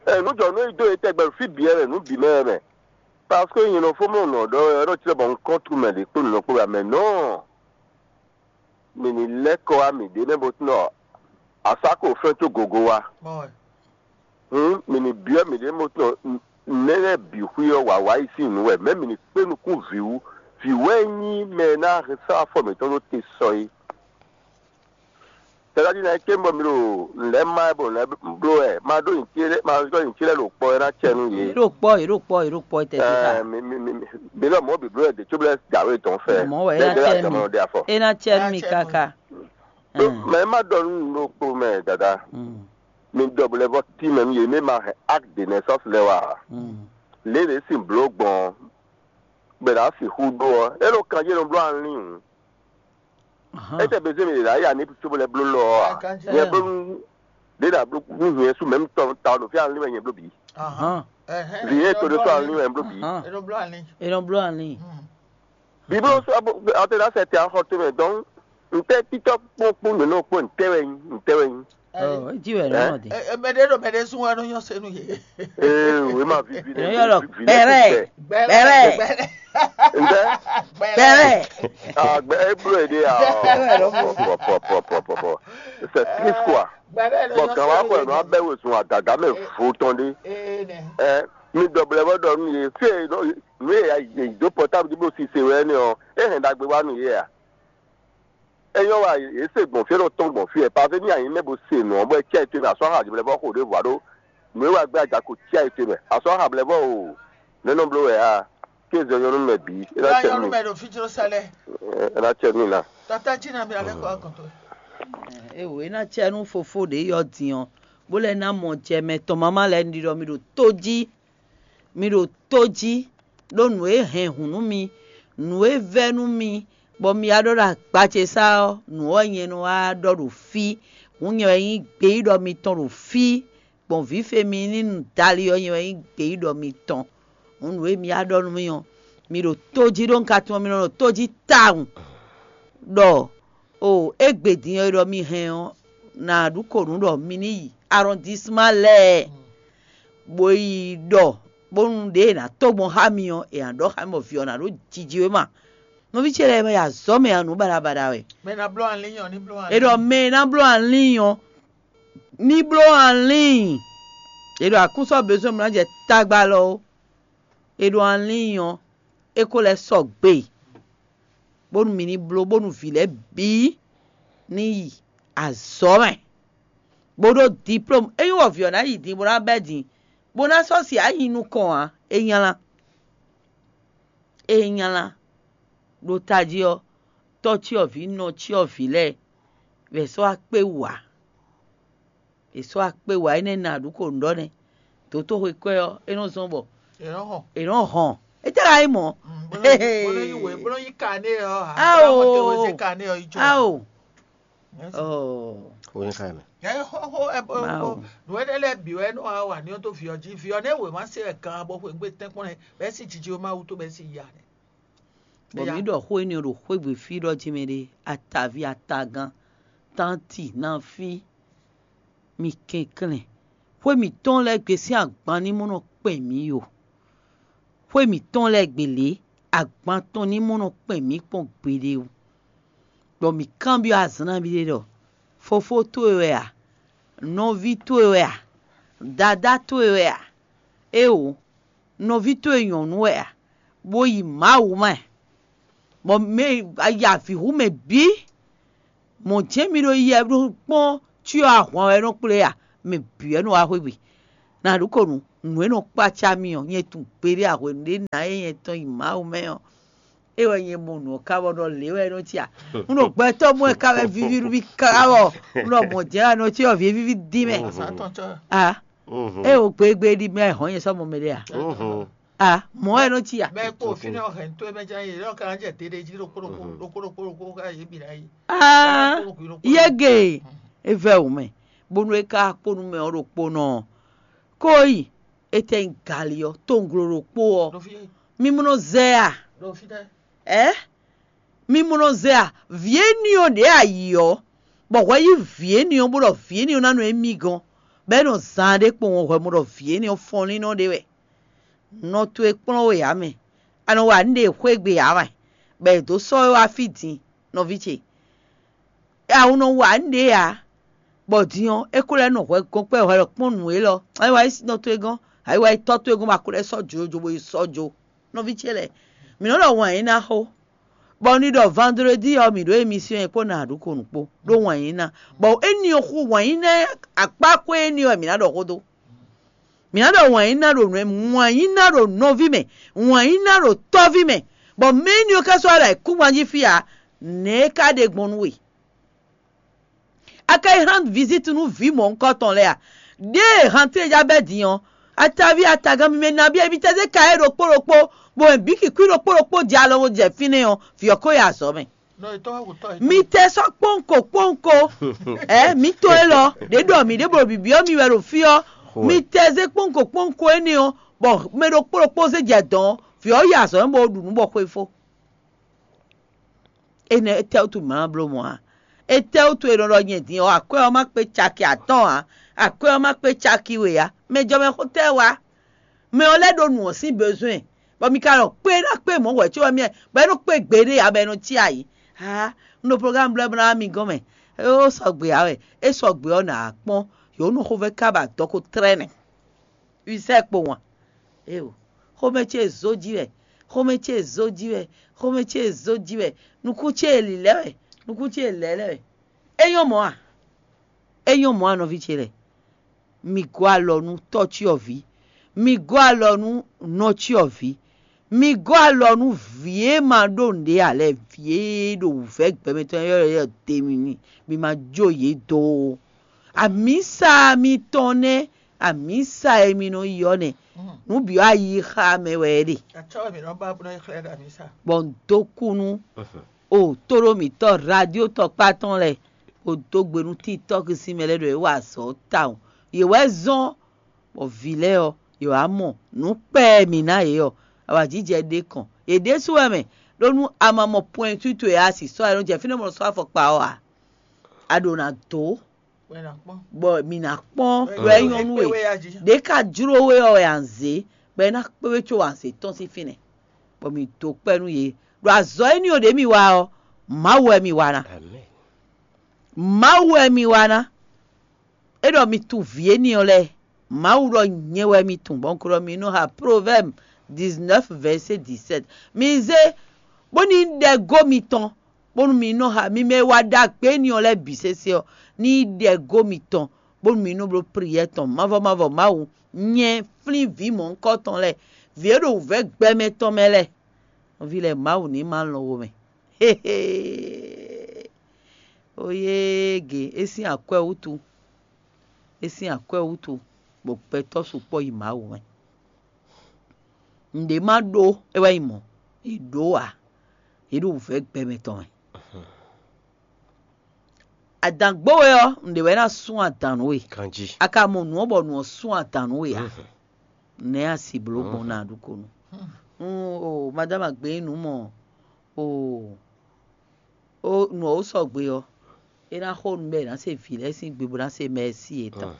Ɛ nǔ jɔ nú yi dó e tɛgbɛ fí bǐ wɛ nǔ bǐ mɛ wɛ mɛ. Parce que nyɛ nɔ fó mɔ nɔ ɖɔ ɛ ɖɔ tí bɔ un kɔn tu mɛ ɖě kpó nǔ kpó wɛ mɛ nɔ. Mi ní lɛ́ kɔ wá mǐɖée mɛ bó tún ɖɔ asá ko fɛ́n có gogo wá. Hǔn mi ní byɔ́ mǐɖée mɛ tɔn nɛ́ lɛ́ɛ bǐ xwí ɔ́ wǎwá yi sín nǔ wɛ, mɛ̌ mi ní kpé nukún vǐ wú? Vǐ wɛ nyí mɛ e ná hɛn sɔ́ afɔ mǐtɔn ɖó te sɔ é. Tɛdájí ná é ké bɔ mi ɖo nǔ lɛ́ɛ má ɛ bɔ nǔ lɛ́ɛ bló wɛ, má ɖó nyǐcí lɛ́ɛ má ɖó nyǐcí lɛ́ɛ ɖo kpɔ é ná cɛ nú yě. Yě ɖo kpɔ, yě ɖo kpɔ́, yě ɖo kpɔ́ tɛ́ xá. Ɛ, mi mi mi mi mi lɔ mɔ̌ bǐ bló wɛ dě cóbɔ lɛ́ɛ dǎwe tɔn fɛ. Mɔ̌ wɛ é ná Bɛ́ cɛ dé nú wá mi. Tɔmɔ ɖe afɔ. É ná cɛ nú mi káká. Mɛ má ɖɔ nú nǔ ɖokpó mɛ dada. Mi ɖɔ bɔ lɛ́ vɔ tí mɛ nú yě mɛ ma hɛn acte de naissance lɛ́ɛ wá. Lě lě sin bló gbɔn bɛ ɖa sixú ɖó ɔ́, é ɖo kanjí nɔ bló alín hǔn. Étɛ́ bezé mi ɖe ɖa ya ní cóbɔ lɛ́ bló lɔ ɔ́ a? Nyɛ bló nú ɖě ɖa bló nú nyɛ sú mɛ̌m tɔn ta ɔ́ ɖo fí alín wɛ nyɛ bló bǐ. Vǐ yé to ɖé sɔ́ alín wɛ bló bǐ. É nɔ bló alín. É nɔ bló alín. Bíbló sɔ́ ɔtɛ́ ná sɛ tɛ axɔ tó mɛ dɔn ntɛ́ títɔ́ kpókpó nǔ nɔ kpó ntɛ́ wɛ nyí ntɛ́ wɛ nyí. Ɔ, é jí wɛ nɔ dé. Mɛɖé ɖo mɛɖé zún wɛ nɔ nyɔ senu yě. Ee, wé ma vivi Nɔ yɔ lɔ, bɛrɛ, bɛrɛ, Ntɛ́? Bɛrɛ. Agbɛ é bló yě ɖe ya. Pɔ pɔ pɔ pɔ pɔ pɔ. C'est triste quoi. Bɔn gǎn wa xɔ ɛ nɔ abɛ wezun agaga mɛ vo tɔn ɖé. Ɛ mi dɔblɛ bɔ ɖɔ nú yě fí e nɔ nú yě yě dó pɔtáblu dí bó sise wɛ nɛ ɔ, é hɛn ɖagbe wá nú yě a? É nyɔ́ wa yě se gbɔn fí é nɔ tɔ́n gbɔn fí ɛ pavé ní anyǐ mɛ bó se nǔ ɔ́ bɔ é cí ayǐ towe mɛ asɔ́ hǎ jǐblɛ́ vɔ xo ɖěvo ǎ ɖó nǔ e wa gbé aja ko cí ayǐ towe mɛ asɔ́ hǎ blɛ́ vɔ o. Nɛ̌ nɔ bló wɛ a? Kéze nyɔ́nú mɛ bǐ é ná cɛ nú mì. Mɛ ɖo fí jló sálẹ̀. É ná cɛ nú mì ná. Tata jí na mi alẹ́ kọ́ àgùntàn. Ewo é ná cɛ nú fofó ɖě yɔ din ɔ́, bó lɛ́ ná mɔ jɛ mɛ tɔn mama lɛ́ɛ ɖiɖɔ mi ɖo tó jí. Mi ɖo tó jí, ɖó nǔ e hɛn hǔn nú mi, nǔ e vɛ́ nú mi, bɔ mi wá ɖɔ ɖo agba ce sá ɔ́, nǔ ɔ́ nyɛ nɔ wá ɖɔ ɖo fí. Hǔn nyɛ wɛ nyí gbeyíɖɔ mitɔn ɖo fí, gbɔn vǐ fe mi ní nu dali ɔ́, nyɛ wɛ nyí gbeyíɖɔ mitɔn. Hǔn nǔ e mi wá ɖɔ nú mì ɔ́, mi ɖo tó jí ɖó un ka tunwun mi nɔ ɖo tó jí tawun ɖɔ o égbé din ɔ́ e ɖɔ mi hɛn ɔ́, nǎ ɖu kǒ nú ɖɔ mi ní yi arɔndisma lɛ́ɛ, bó yi ɖɔ bónú ɖě e nǎ tó gbɔn xá mi ɔ́, è nǎ ɖɔ xá mi bɔ vǐ ɔ́ ná ɖó jiji wéma. Nɔví ce lɛ́ɛ mɛ yi azɔ̌ mɛ ǎ, nǔ baɖabaɖa wɛ. Mɛ ná bló alín ɔ́ ní bló alín. È ɖɔ mɛ e ná bló alín ɔ́ ní bló alín. È ɖɔ akúnsɔ bezɔn mlá jɛ tagba lɔ ó. È ɖɔ alín ɔ́ é kó lɛ́ sɔgbe, bónú mi ní bló bónú vǐ lɛ́ɛ bǐ ní yi azɔ̌ mɛ, bó ɖó diplôme. Ényí wɔ vǐ ɔ́ ná yi din bó ná bɛ́ din, bó ná sɔ́ si ayi nukɔn ǎ, é nylá. É nylá. Ɖo tají ɔ́, tɔ́ cyɔvǐ nɔ cyɔvǐ lɛ́ɛ wɛ sɔ́ akpé wǎ. È sɔ́ akpé wǎ énɛ́ ná ɖu ko nǔ ɖɔ nɛ́. Dotóxwé kwɛ́ ɔ́, é nɔ zɔ́n bɔ È nɔ hɔn. È nɔ hɔn. É tɛ́ ka nyí mɔ̌? Bó nɔ yí wě, bó nɔ yí kané ɔ́. Ao. Bó nɔ te wezé kané ɔ́ yi jó. Ao. Ó ní ká mɛ. Ɛ xó xó ɛ bó Mawu. Nǔ énɛ́ lɛ́ɛ bǐ wɛ nɔ wá wà ní ɔ́ tó vǐ ɔ́ jí. Vǐ ɔ́ nɛ́ wě má se ɛ gan bɔ xwé gbé tɛ́nkpɔ́n nɛ́ bɛ́ sí jiji ó má wútu bɛ́ sí ya nɛ́. Bɔ mǐ ɖɔ xó énɛ́ ɖo xwé gbe fí ɖɔ jí mɛ ɖé, ataví, atagán, tánti, nafí, mi kɛnklɛ́n. Xwé mǐtɔn lɛ́ɛ gbe sín agban ní mɔ nɔ kpɛn mǐ o. Xwé mǐtɔn lɛ́ɛ gbe lě, agban tɔn ní mɔ nɔ kpɛn mǐ kpɔ́n gbeɖé o. Bɔ mǐ kanbyɔ́ azǎn nabí ɖé ɖɔ: Fofó towe wɛ a? Nɔví towe wɛ a? Dadá towe wɛ a? Éeǒ, nɔví towe nyɔ̌nu wɛ a? Bó yi Mawu mɛ, bɔ mɛ ya vǐ hu mɛ bǐ. Mɔ̌ jɛ́n mi ɖo yɛ ɖo kpɔ́n cyɔ ahwan wɛ nɔ kplé a? Mɛ bǐ wɛ nɔ wá xwé gbe. Nǎ ɖu ko nǔ. Nǔ e nɔ kpácá mì ɔ́, nyɛ tunwun gbeɖé a hwenu ɖé ná e nyɛ tɔn yi Mawu mɛ ɔ́, é wɛ nyɛ mɔ nǔ ɔ́ ká bɔ ɖɔ lě wɛ é nɔ cí a? Un ɖo gbɛtɔ́ mɔ ɛ ká wɛ víví nú mì ká wɔ. Un ɖɔ mɔ̌ jɛ́n wɛ é nɔ cí ɔ́, vǐ e víví dín mɛ. A, é wo gbegbe ɖi mɛ hɔn nyɛ sɔ́ mɔ mɛ ɖé a? A, mɔ̌ wɛ é nɔ cí a? Bɛ kpo fínɛ́ ɔ́ hɛn tó mɛ jɛ́n yě lɔ ka jɛ deɖe jí ɖokpó ɖokpó ɖokpó ɖokpó ɖokpó ká yě bǐ ná yi. Aa, yege e vɛ wò mɛ, bónú é ka kpó nú mɛ ɔ́ ɖokpónɔ ɔ́, kó yi, étɛ́ nyí gali ɔ́, towunglo ɖokpó ɔ́, mi mɔ nɔ zɛ a? Ɛ, mi mɔ nɔ zɛ a? Vǐ éní ɔ́ ɖě a yi ɔ́, bɔ hwɛ yí vǐ éní ɔ́, bó ɖɔ vǐ éní ɔ́ ná nɔ émí gɔ́n, bɔ é nɔ zaan ɖé kpowun hwɛ mɔ ɖɔ vǐ éní ɔ́ fɔnlínnɔ ɖé wɛ. Nɔ towe kplɔ́n we ǎ mɛ. A nɔ wa nǔ ɖe xwégbe ǎ wɛ, bɔ è dǒ sɔ́ we wá fí din, nɔví ce. A wu nɔ wa nǔ ɖě ǎ, bɔ din ɔ́, é ko lɛ́ nɔ hwɛ gɔ́n kpɛ́ hwɛ ɖɔ kpɔ́n nǔ élɔ́. A nɔ wa yi nɔ towe gɔ́n, a yi wa yi tɔ́ towe gɔ́n, bɔ a ko lɛ́ sɔ́ jǒjǒ bó yi sɔ́ jó. Nɔví ce lɛ́ɛ, mǐ nɔ ɖɔ wǎn yí ná xó, bɔ un ɖi ɖɔ vandredi ɔ́, mǐ ɖó emisiyɔn e kpó nǎ ɖu ko nǔ kpó ɖó wǎn yí ná, bɔ éní ɔ́ xú wǎn yí ná akpá xwé éní ɔ́ wɛ mǐ ná ɖɔ xó dó. Mǐ ná ɖɔ wǎn yí ná ɖo nǔ wǎn yí ná ɖo nɔví mɛ, wǎn yí ná ɖo tɔ́ví mɛ, bɔ mɛ éní ɔ́ ka sɔ́ ɖo ayǐkúngban jí fí ǎ, nɛ̌ é ka ɖe gbɔn nú we? A ka yi rán viziti nú vǐ mɔ̌hunkɔtɔn lɛ́ɛ a? Ɖěe hantlé ja bɛ́ din ɔ́, ataví atagán mímɛ́ nabí emitɛ́ zé ka é ɖokpó ɖokpó, bɔ mɛ bǐ kǐkwí ɖokpó ɖokpó jɛ alɔ bó jɛ fínɛ́ ɔ́, vǐ ɔ́ ko yi azɔ̌ mɛ. Mi tɛ sɔ́ kpɔ́nko kpɔ́nko, ɛ mi tɔn élɔ́ ɖě ɖɔ mǐ ɖěbǔ ɖo bǐbí ɔ́ mi wɛ ɖo fí ɔ́, mi tɛ zé kpɔ́nko kpɔ́nko énɛ́ ɔ́, bɔ mɛ ɖokpó ɖokpó zé jɛ dɔ̌n ɔ́, vǐ ɔ́ yi azɔ̌ mɛ bó ɖu nǔ bɔ xwefó. Énɛ́ étɛ́wútu mǐ ma bló mɔ̌ ǎ? Étɛ́wútu è nɔ ɖɔ nyɛ din ɔ́, akwɛ́ ɔ́ má kpé caki atɔ́ɔ́n ǎ, akwɛ́ ɔ́ má kpé caki we ǎ? Mɛ jɔ mɛ xó tɛ́ wá? Mɛ ɔ́ lɛ́ ɖo nǔ ɔ́ sín bezwɛ́n, bɔ mi ka ɖɔ kpé ná kpé mɔ̌ hwɛ̌ có wɛ mi bɔ é nɔ kpé gbeɖé ǎ, bɔ é nɔ cí ayǐ. Haa, un ɖo plogámu blɛ́ bó ná wá mi gɔ́n mɛ. É ó sɔgbe ǎ wɛ, é sɔgbe ɔ́ nǎ kpɔ́n, yǒ nɔ xovɛ́ ká ba dɔ̌ ko tlɛ́ nɛ́. Wisɛ́ kpo wǎn. Éeǒ, xomɛ ce zó jí wɛ, xomɛ ce zó jí wɛ, xomɛ ce zó jí wɛ, nukún ce lǐlɛ́ wɛ, nukún ce lɛ̌lɛ́ wɛ. É nyɔ́ mɔ̌ a? É nyɔ́ mɔ̌ a, nɔví ce lɛ́ɛ? Mi gɔ́ alɔ nú tɔ́ cyɔ́vǐ, mi gɔ́ alɔ nú nɔ cyɔ́vǐ, mi gɔ́ alɔ nú vǐ e ma ɖó nǔɖé ǎ lɛ́ɛ, vǐ e ɖo wǔvɛ́ gbɛmɛ tɔn ylɔ́ ylɔ́ demi ní, mi ma jó yě dó ó. Amǐsa mitɔn nɛ́, amǐsa e mi nɔ yi ɔ́ nɛ́, nǔ bǐ ɔ́ ayixa mɛ wɛ é ɖe. Acɔ́ wɛ mǐ nɔ ba bó nɔ yi xlɛ́ ɖo amǐsa. Bɔ un dó kú nú o tóɖó mǐtɔn radio tɔkpá tɔn lɛ́ɛ, bó dó gbe nú títɔ́ sín mɛ lɛ́ɛ ɖɔ é wa azɔ̌ tawun. Yě wɛ zɔ́n bɔ vǐ lɛ́ɛ ɔ́, yě wá mɔ nǔ kpɛɛ e mǐ ná yě ɔ́, awǎjijɛ ɖé kɔn. Yě ɖésú wɛ mɛ, ɖó nú a ma mɔ pwɛntu towe a si sɔ́ a nɔ jɛ fínɛ́ bɔ nɔ sɔ́ afɔkpa ɔ́ ǎ, a ɖǒ ná dó, bɔ mǐ ná kpɔ́n ɖɔ é nyɔ́ nú we. Ɖě ka jló we ɔ́ wɛ a nǎ zě, bɔ é ná kpé we có wǎ zě tɔ́n sín fínɛ́, bɔ mǐ dó kpɛ́ nú yě. Ɖo azɔ̌ éní ɔ́ ɖě mi wa ɔ́, Mawu wɛ mi wa ná. Mawu wɛ mi wa ná. É ɖɔ mi tunwun vǐ éní ɔ́ lɛ́ɛ. Mawu ɖɔ nyɛ wɛ mi tunwun, bɔ un ko ɖɔ mi nɔ xa Proverbes dix-neuf, verset dix-sept. Mi zé bónú ɖɛgó mitɔn, bónú mi nɔ xa mi mɛ e wa ɖagbe éní ɔ́ lɛ́ɛ bǐ sésé ɔ́, ní nyí ɖɛgó mitɔn, bónú mi nɔ bló priyɛ́ tɔn mavɔ mavɔ Mawu, nyɛ flín vǐ mɔ̌hunkɔtɔn lɛ́ɛ, vǐ e ɖo wǔvɛ́ gbɛmɛ tɔn mɛ lɛ́ɛ. Nɔví lɛ́ɛ, Mawu ní ma lɔn wo mɛ. Oyége, é sín akwɛ́ wútu, é sín akwɛ́ wútu, bɔ gbɛtɔ́ sukpɔ́ yi Mawu mɛ. Nǔɖé ma ɖó é wɛ nyí mɔ̌, è ɖǒ ǎ, yě ɖo wǔvɛ́ gbɛmɛ tɔn mɛ. Adǎn gbó we ɔ́, nǔɖé wɛ ná sún adǎn nú we. Ganjí. A ka mɔ nǔ ɔ́ bɔ nǔ ɔ́ sún adǎn nú we ǎ. Nɛ̌ a si blǒ gbɔn ná ɖu ko nu? Un, o madama gbé nǔ mɔ, o o nǔ ɔ́ sɔgbe ɔ́, é ná xo nú bɔ è nǎ se vǐ lɛ́ɛ sín gbe bó ná se mɛ̌si yětɔn.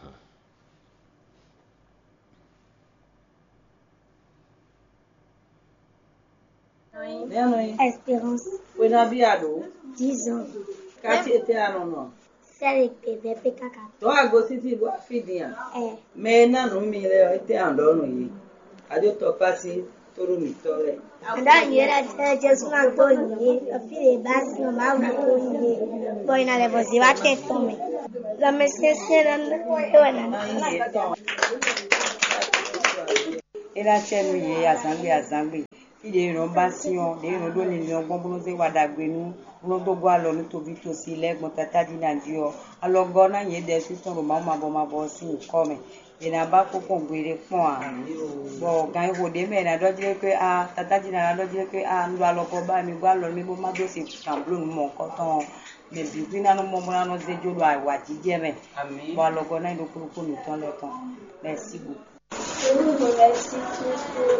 Espérance. Xwe nabí a ɖǒ? Dix ans. Quartier tɛ́ a nɔ nɔ? Sɛ́ ɖe gbe vɛ́ pé káká. Tɔ́ a gosín fí bó a fí din a? Ɛ. Mɛ e ná nǔ mi lɛ́ɛ ɔ́, étɛ́ a nɔ ɖɔ nú yě? A ɖó tɔkpási tónú mǐtɔn lɛ́ɛ. Aɖá yě lɛ tɛ Jesu ná dó yě, ɖɔ fí ɖě bá sin ɔ́, Mawu ná dó yě, bɔ è nǎ lɛ́ vɔ zě wá tɛn tɔn mɛ. Lanmɛsyɛ́nsyɛ́n ná é wɛ ná ná. É ná cɛ nú yě azǎngbe azǎngbe. Fí ɖě è nɔ ba sin ɔ́, ɖě è nɔ ɖó linlin ɔ́ gbɔn bó nɔ́ zé wa ɖagbe nú, bó nɔ́ dó gɔ́ alɔ nú toví tosi lɛ́ɛ gbɔn tatájí ná jí ɔ́, alɔgɔ́ ná nyɛ ɖɛ̌sú tɔn ɖo Mawu mavɔ mavɔ ɔ́ sín nyǐkɔ mɛ. È nǎ ba kpɔ́n gbeɖé kpɔ́n ǎ. Bɔ gan e xo ɖě mɛ è nǎ ɖɔ jí ɖé xwé a, tatájí ná ná ɖɔ jí ɖé xwé a, un ɖo alɔgɔ́ ba wɛ, mi gɔ́ alɔ nú mì bó má dó se gǎn bló nǔ mɔ̌hunkɔtɔn ɔ́, mɛ bǐ xwí ná nɔ mɔ bó ná nɔ zé jó ɖo awǎjijɛ mɛ. Bɔ alɔgɔ́ ná nyí ɖokpó ɖokpó mǐtɔn lɛ́ɛ tɔn. Merci beaucoup. Je vous remercie tous pour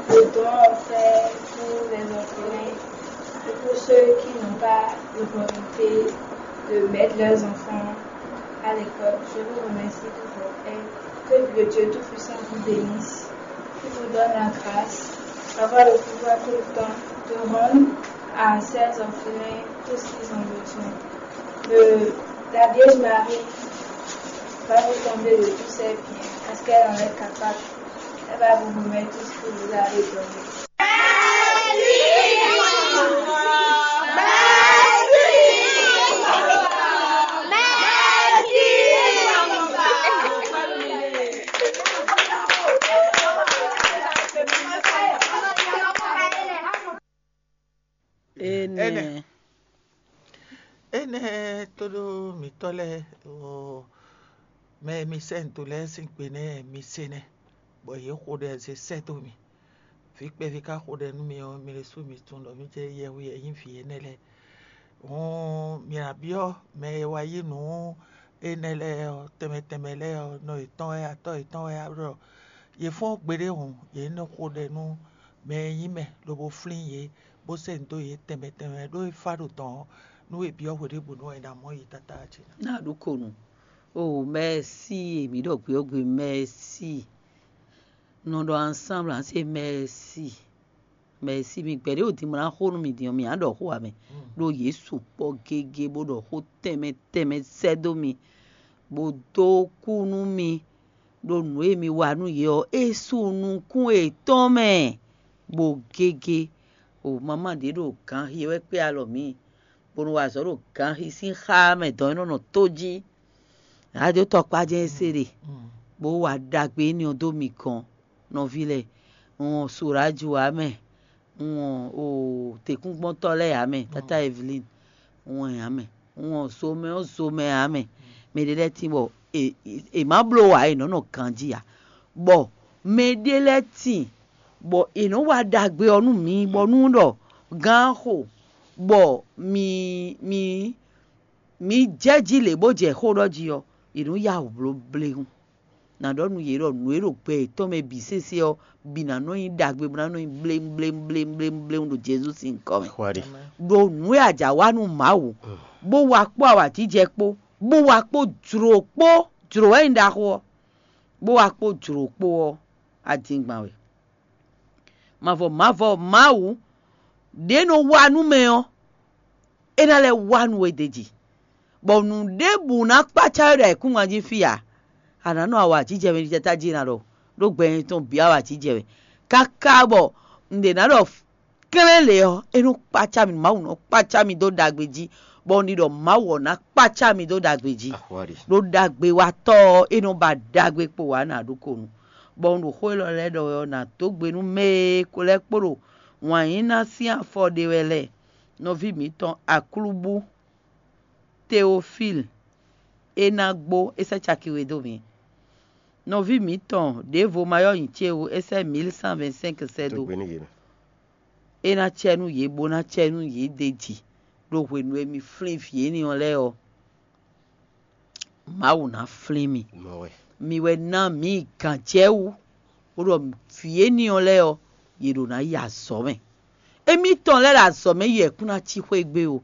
le don offert pour les orphelins et pour ceux qui n'ont pas l'opportunité de mettre leurs enfants à l'école. Je vous remercie pour votre aide. Que le Dieu Tout-Puissant vous bénisse, qui vous donne la grâce d'avoir le pouvoir tout le temps de rendre à ces orphelins tout ce qu'ils ont besoin. Le, la Vierge Marie va vous combler de tous ses biens parce qu'elle en est capable. Elle va vous remettre tout ce que vous avez donné. Énɛ́. Énɛ́ tóɖó mǐtɔn lɛ́ɛ, mɛ e mi sɛ́ nǔ dó lɛ́ɛ sín gbe nɛ́ mi se nɛ́, bɔ yě xo ɖɛ zé sɛ́ dó mi. Vǐ kpɛví ka xo ɖɛ nú mi ɔ́, mi ɖésú mi tunwun ɖɔ mǐ jɛ yɛhwe e nyí vǐ énɛ́ lɛ́ɛ. Hǔn mi ná byɔ́ mɛ e wa yí nǔ énɛ́ lɛ́ɛ ɔ́, tɛnmɛ tɛnmɛ lɛ́ɛ ɔ́, nɔ yětɔn wɛ, atɔ́ yětɔn wɛ ɖɔ yě fɔ́n gbeɖé hǔn, yě ní nɔ xo ɖɛ nú mɛ e nyí mɛ lobo flín yě, bó sɛ́ nǔ dó yě tɛnmɛ tɛnmɛ, ɖó é fá ɖo dɔ̌n ɔ́, nú è byɔ́ hweɖěbǔnu ɔ́, è nǎ mɔ yě tlátá ǎ ce ná. Ná ɖó ko nǔ. O mɛ̌si, mǐ ɖɔ gbe ɔ́ gbe mɛ̌si. Nɔ ɖɔ ansámblɛ ǎ se mɛ̌si. Mɛ̌si, mi gbɛ̌ ɖě o din bó ná xo nú mi din ɔ́, mǐ ná ɖɔ xó ǎ mɛ. Ɖó yě sukpɔ́ gégé bó ɖɔ xó tɛnmɛ tɛnmɛ sɛ́ dó mi, bó dó kú nú mi, ɖó nǔ e mi wa nú yě ɔ́, é sú nukún yětɔn mɛ, bó gégé. O mamá ɖě ɖo ganxi wɛ kpé alɔ mǐ, bó nɔ wa azɔ̌ ɖo ganxi sín xá mɛ dɔ̌n é nɔ nɔ tó jí. Ná dó tɔkpá jɛ́n é se ɖe, bó wa ɖagbe énɛ́ ɔ́ dó mi gɔ́n, nɔví lɛ́ɛ. Un wɔn Soraju ǎ mɛ, un wɔn o tɛ̌kúngbɔ́ntɔ́ lɛ́ɛ ǎ mɛ, Tátá Evelyn, un wɔn ǎ mɛ, un wɔn zomɛ ɔ́ zomɛ ǎ mɛ. Mɛ ɖé lɛ́ɛ tín bɔ è má bló ǎ, è nɔ́ nɔ ganjí ǎ. Bɔ mɛ ɖé lɛ́ɛ tín bɔ è nɔ́ wa ɖagbe ɔ́ nú mi, bɔ nú ɖɔ gán xo, bɔ mi mi mi jɛ jí lě bó jɛ xó ɖɔ jí ɔ́, è nǔ ya wǔ bló bléwún. Nǎ ɖɔ nú yě ɖɔ nǔ e ɖo gbɛ yětɔn mɛ bǐ sésé ɔ́, bǐ ná nɔ nyí ɖagbe, bó ná nɔ nyí bléwún bléwún bléwún bléwún bléwún ɖo Jezu sín nyǐkɔ mɛ. Ɖo nǔ e a jǎ wa nú Mawu, bó wa kpó awǎjijɛ kpó, bó wa kpó jlǒ kpó, jlǒ wɛ nyí ɖaxó ɔ́, bó wa kpó jlǒ kpó ɔ́, a din gban wɛ. Mavɔ mavɔ Mawu ɖě nɔ wa nú mɛ ɔ́, é ná lɛ́ wa nú we d'é jí, bɔ nǔ ɖěbǔ ná kpácá we ɖo ayǐkúngban jí fí ǎ. A nǎ nɔ awǎjijɛ mɛ ɖiɖata jí ná ɖɔ, ɖó gbɛ nyɛ tɔn bǐ awǎjijɛ wɛ, káká bɔ un ɖě ná ɖɔ klɛ́n lě ɔ́, é nɔ kpácá mi, Mawu nɔ kpácá mi dó ɖagbe jí, bɔ un ɖi ɖɔ Mawu ɔ́ ná kpácá mi dó ɖagbe jí. Ɖó ɖagbewatɔ́ ɔ́, é nɔ ba ɖagbe kpo wǎ nǎ ɖó ko nu. Bɔ un ɖo xó élɔ́ lɛ́ɛ ɖɔ wɛ ɔ́, nǎ dó gbe nú mɛ e ko lɛ́ kpo ɖo wǎn yí ná sín afɔ ɖe wɛ lɛ́ɛ. Nɔví mǐtɔn Aklúbú Teofíl, é ná gbó, é sɛ́ caki we dó mǐ. Nɔví mǐtɔn ɖěvo ma yɔ́ nyi ce ó, é sɛ́ mǐl cent vingt-cinq sɛ́ dó. É ná cɛ nú yě, bó ná cɛ nú yě d'é jí, ɖo hwenu e mi flín vǐ énɛ́ ɔ́ lɛ́ɛ ɔ́, Mawu ná flín mi. Mi wɛ ná mǐ gǎn jɛ wú, bó ɖɔ vǐ énɛ́ ɔ́ lɛ́ɛ ɔ́, yě ɖo ná yi azɔ̌ mɛ. Émítɔn lɛ́ɛ ɖo azɔ̌ mɛ yi wɛ kún ná cí xwé gbe ó.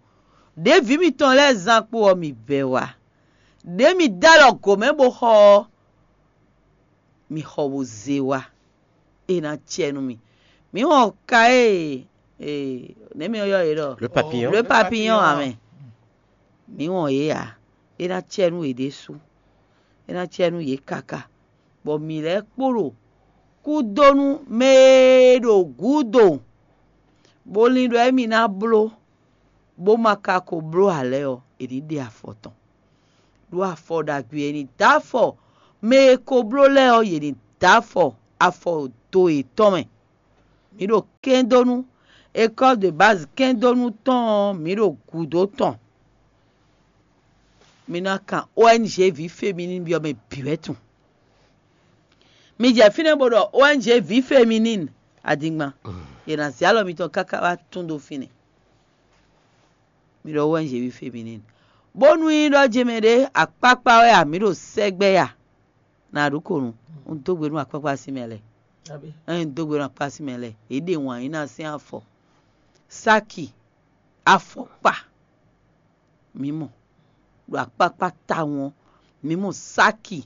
Ɖěe vǐ mitɔn lɛ́ɛ zán kpo ɔ́, mi bɛ́ wá. Ɖěe mi dó alɔ gǒ mɛ bó xɔ ɔ́, mi xɔ bó zé wá. É ná cɛ nú mi. Mǐ wɔn ka e nɛ̌ mi ylɔ́ yě ɖɔ? Le papillon. Le papillon ǎ mɛ. Mǐ wɔn yě ǎ. É ná cɛ nú yě ɖésú. É ná cɛ nú yě káká. Bɔ mǐ lɛ́ kpo ɖo kúdónú mɛ e ɖo gǔdo, bó lin ɖɔ émí ná bló, bó ma ka ko bló ǎ lɛ́ɛ ɔ́, è ní ɖe afɔ tɔn. Ɖó afɔ ɖagbe e ní dó afɔ mɛ e ko bló lɛ́ɛ ɔ́, yě ní dó afɔ, afɔ to yětɔn mɛ. Mǐ ɖo kɛ́ndónú, école de base kɛ́ndónú tɔn ɔ́, mǐ ɖo gǔdo tɔn. Mi ná kan O N G vǐ féminine byɔ́ mɛ bǐ wɛ tunwun. Mi jɛ fínɛ́ bó ɖɔ O N G vǐ féminine adingban. Yě ná zé alɔ mitɔn káká wá tún dó fínɛ́. Mi ɖɔ O N G vǐ féminine. Bónú nyí ɖɔ jɛmɛ ɖé akpákpá wɛ a, mǐ ɖo sɛgbɛ ya. Na ɖu ko nu, un dó gbe nú akpákpá sín mɛ lɛ́ɛ. Ɛn, un dó gbe nú akpákpá sín mɛ lɛ́ɛ. Yě ɖe wǎn yí ná sín afɔ. Sáki, afɔkpa, mǐ mɔ. Ɖo akpákpá tawun ɔ́, mǐ mɔ sáki,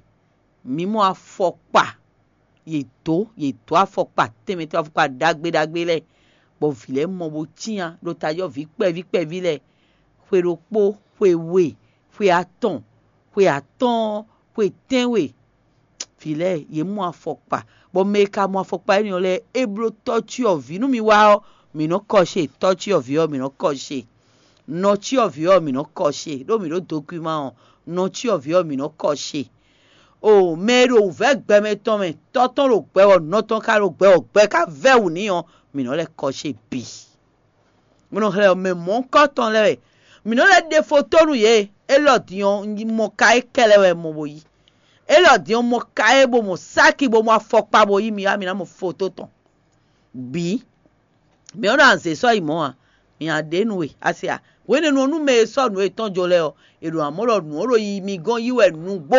mǐ mɔ afɔkpa. Yě dǒ, yě dǒ afɔkpa tɛnmɛ tɛnmɛ, afɔkpa ɖagbe ɖagbe lɛ́ɛ, bɔ vǐ lɛ́ɛ mɔ bó cyán ɖo tajɔ́ví kpɛví kpɛví lɛ́ɛ. Xwe ɖokpó, xwe we, xwe atɔn, xwe atɔ́ɔ́n, xwe tɛ́nwe. Vǐ lɛ́ɛ, yě mɔ afɔkpa, bɔ mɛ e ka mɔ afɔkpa énɛ́ ɔ́ lɛ́ɛ, é bló tɔ́cyɔvǐ nú mi wá ɔ́, mǐ nɔ́ kɔ ṣe, tɔ́cyɔvǐ ɔ́, mǐ nɔ́ kɔ ṣe. Nɔ cyɔvǐ ɔ́, mǐ nɔ́ kɔ ṣe, ɖó mǐ ɖo dokwíma ɔ́, nɔ cyɔvǐ ɔ́, mǐ nɔ́ kɔ ṣe. O mɛ e ɖo wǔvɛ́ gbɛmɛ tɔn mɛ, tɔ́ tɔn ɖo gbɛ wɔ, nɔ tɔn ka ɖo gbɛ wɔ, gbɛ ka vɛ́ wǔ n'i ɔ́, mǐ nɔ́ lɛ́ kɔ ṣe bǐ. Mǐ nɔ xlɛ́ ɔ́, mɛ mɔ̌hunkɔtɔn lɛ́ɛ wɛ. Mǐ nɔ́ lɛ́ ɖe fotónu yě, élɔ́ din ɔ́, un mɔ ka é kɛlɛ wɛ mɔ bó yí. Élɔ́ din ɔ́, mɔ ka é bó mɔ sáki bó mɔ afɔkpa bó yí mi wá mi ná mɔ foto tɔn. Bǐ. Mǐ ɔ́ ɖo anzě sɔ́ yi mɔ̌ ǎ, mǐ a ɖě nú we, a se a? Hwenɛ́nu ɔ́, nú mɛ e sɔ́ nǔ yětɔn jó lɛ́ɛ ɔ́, è ɖo amɔ̌ ɖɔ nǔ ɔ́ ɖo yiyi mi gɔ́n yí wɛ nǔgbó,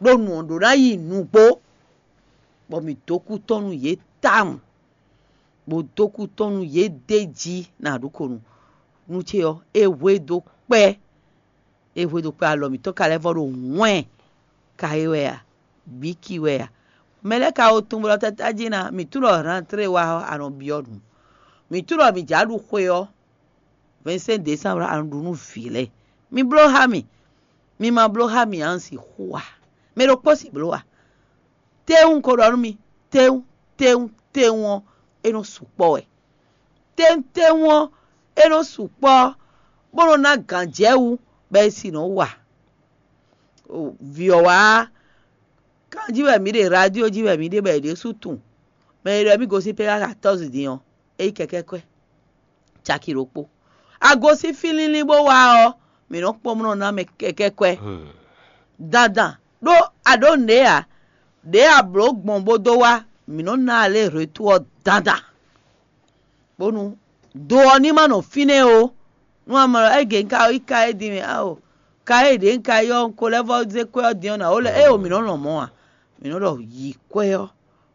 ɖó nǔ ɔ́ ɖó ná yi nǔgbó, bɔ mǐ dó kú tɔn nú yě tawun, bó dó kú tɔn nú yě d'é jí ná ɖu ko nu. Nú ce ɔ́, é hwe dó kpɛ́, é hwe dó kpɛ́ alɔ mǐtɔn ka lɛ́ vɔ ɖo wɛn ka é wɛ a? Bǐ ki wɛ a? Mɛ lɛ́ɛ ka wo tunwun bɔ tata jí ná, mǐ tunwun ɖɔ rantlé wa ɔ́, a nɔ byɔ́ nǔ. Mǐ tunwun ɖɔ mǐ jǎ ɖu xwe ɔ́, vɛ̌nsɛ́n desánblu a nɔ ɖu nú vǐ lɛ́ɛ. Mi bló xá mì, mi ma bló xá mì ǎ, un sixú a? Mɛ ɖokpó sixú bló a? Tɛ́nwún ko ɖɔ nú mi, tɛ́nwún, tɛ́nwún, tɛ́nwún ɔ́, é nɔ sukpɔ́ wɛ. Tɛ́nwún, tɛ́nwún ɔ́, é nɔ sukpɔ́, bó nɔ ná gǎnjɛwú, bɔ é si nɔ wa. Vǐ ɔ́ wá, kanjí wɛ mǐ ɖe, radio jí wɛ mǐ ɖe, bɔ è ɖésú tunwun. Mɛ e ɖɔ mì gosín pɛ́ xá katɔ́zi din ɔ́, é yí kɛkɛ́ kwɛ́ caki ɖokpó. A gosín fí línlín bó wá ɔ́, mǐ nɔ́ kpɔ́n mlɔ́ ná mɛ kɛkɛ́ kwɛ́. Dandan ɖó a ɖǒ nǔɖé ǎ, ɖěe a blǒ gbɔn bó dó wá, mǐ nɔ́ ná alě hwetú ɔ́ dandan, bónú do ɔ́ ní ma nɔ fínɛ́ ó. Nú a mɔ ɖɔ égě un ka yi ka é din mɛ ao, ka é ɖě un ka yi ɔ́, un ko lɛ́ vɔ́ zé kwɛ́ ɔ́ din ɔ́, nǎ ó lɛ́ éeǒ, mǐ nɔ́ lɔn mɔ̌ ǎ. Mǐ nɔ́ ɖɔ yi kwɛ́ ɔ́,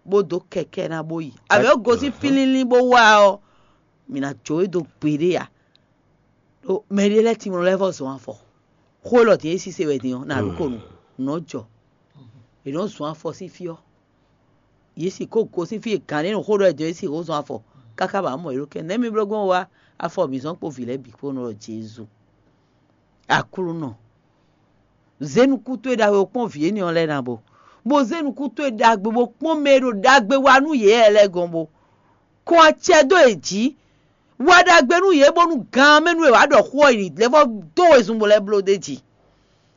bó dó kɛkɛ́ ná bó yi. Abǐ ó gosín fínlínlín bó wá ɔ́, mǐ ná jó we dó gbeɖé ǎ. Ɖó mɛɖé lɛ́ɛ tinmlɔ lɛ́ɛ vɔ́ zɔn afɔ. Xó élɔ́ din e sise wɛ din ɔ́, nǎ ɖu ko nu, nǔ nɔ́ jɔ. È nɔ́ zɔn afɔ sín fí ɔ́, yě si kó gosín fí e gǎn ɖé nɔ xó ɖɔ è dɔn yě si xó zɔn afɔ, káká bǎ mɔ yě ɖó kɛ. Nɛ̌ mi bló gbɔn wá afɔ mǐ zɔ́n kpó vǐ lɛ́ɛ bǐ kpó nɔ ɖɔ Jezu. Aklúnɔ, zé nukún towe ɖagbe bó kpɔ́n vǐ énɛ́ ɔ́ lɛ́ɛ ná bo, bó zé nukún towe ɖagbe bó kpɔ́n mɛ e ɖo ɖagbe wa nú yě lɛ́ɛ gɔ́n bo kɔn acɛ dó yě jí. Wa ɖagbe nú yě bónú gan mɛ nú è wǎ ɖɔ xó ɔ́ yi lɛ́ vɔ dó wezun bó lɛ́ bló d'é jí.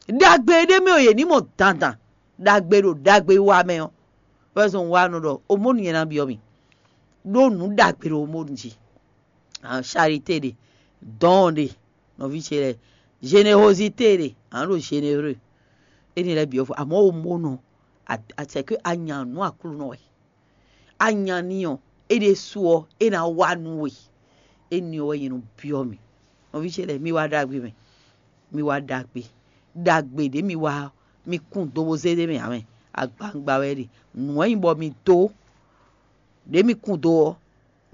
Ɖagbe ɖé mɛ ɔ́, yě ní mɔ dandan ɖagbe ɖo ɖagbe wa mɛ ɔ́. Wɛ zɔn wa nɔ ɖɔ omónu nyɛ ná byɔ́ mi, ɖó nǔ ɖagbe ɖo omónu jí. Charité ɖe, dɔn ɖe, nɔví ce lɛ́ɛ, générosité ɖe, a nǎ ɖo généreux. Éni lɛ́ɛ byɔ́ fɔ, amɔ̌ omónu, acɛ̌ ké a nya nǔ Aklúnɔ wɛ. A nya n'i ɔ́, é ɖésú ɔ́, é ná wa nú we. Éni ɔ́ wɛ nyɛ nɔ byɔ́ mi. Nɔví ce lɛ́ɛ, mi wá ɖagbe mɛ. Mi wá ɖagbe. Ɖagbe ɖě mi wa ɔ́, mi kun do bó zé ɖ'é mɛ ǎ mɛ. Agbawungba wɛ é ɖe. Nǔ wɛ nyí bɔ mi dó. Ɖě mi kun do ɔ́,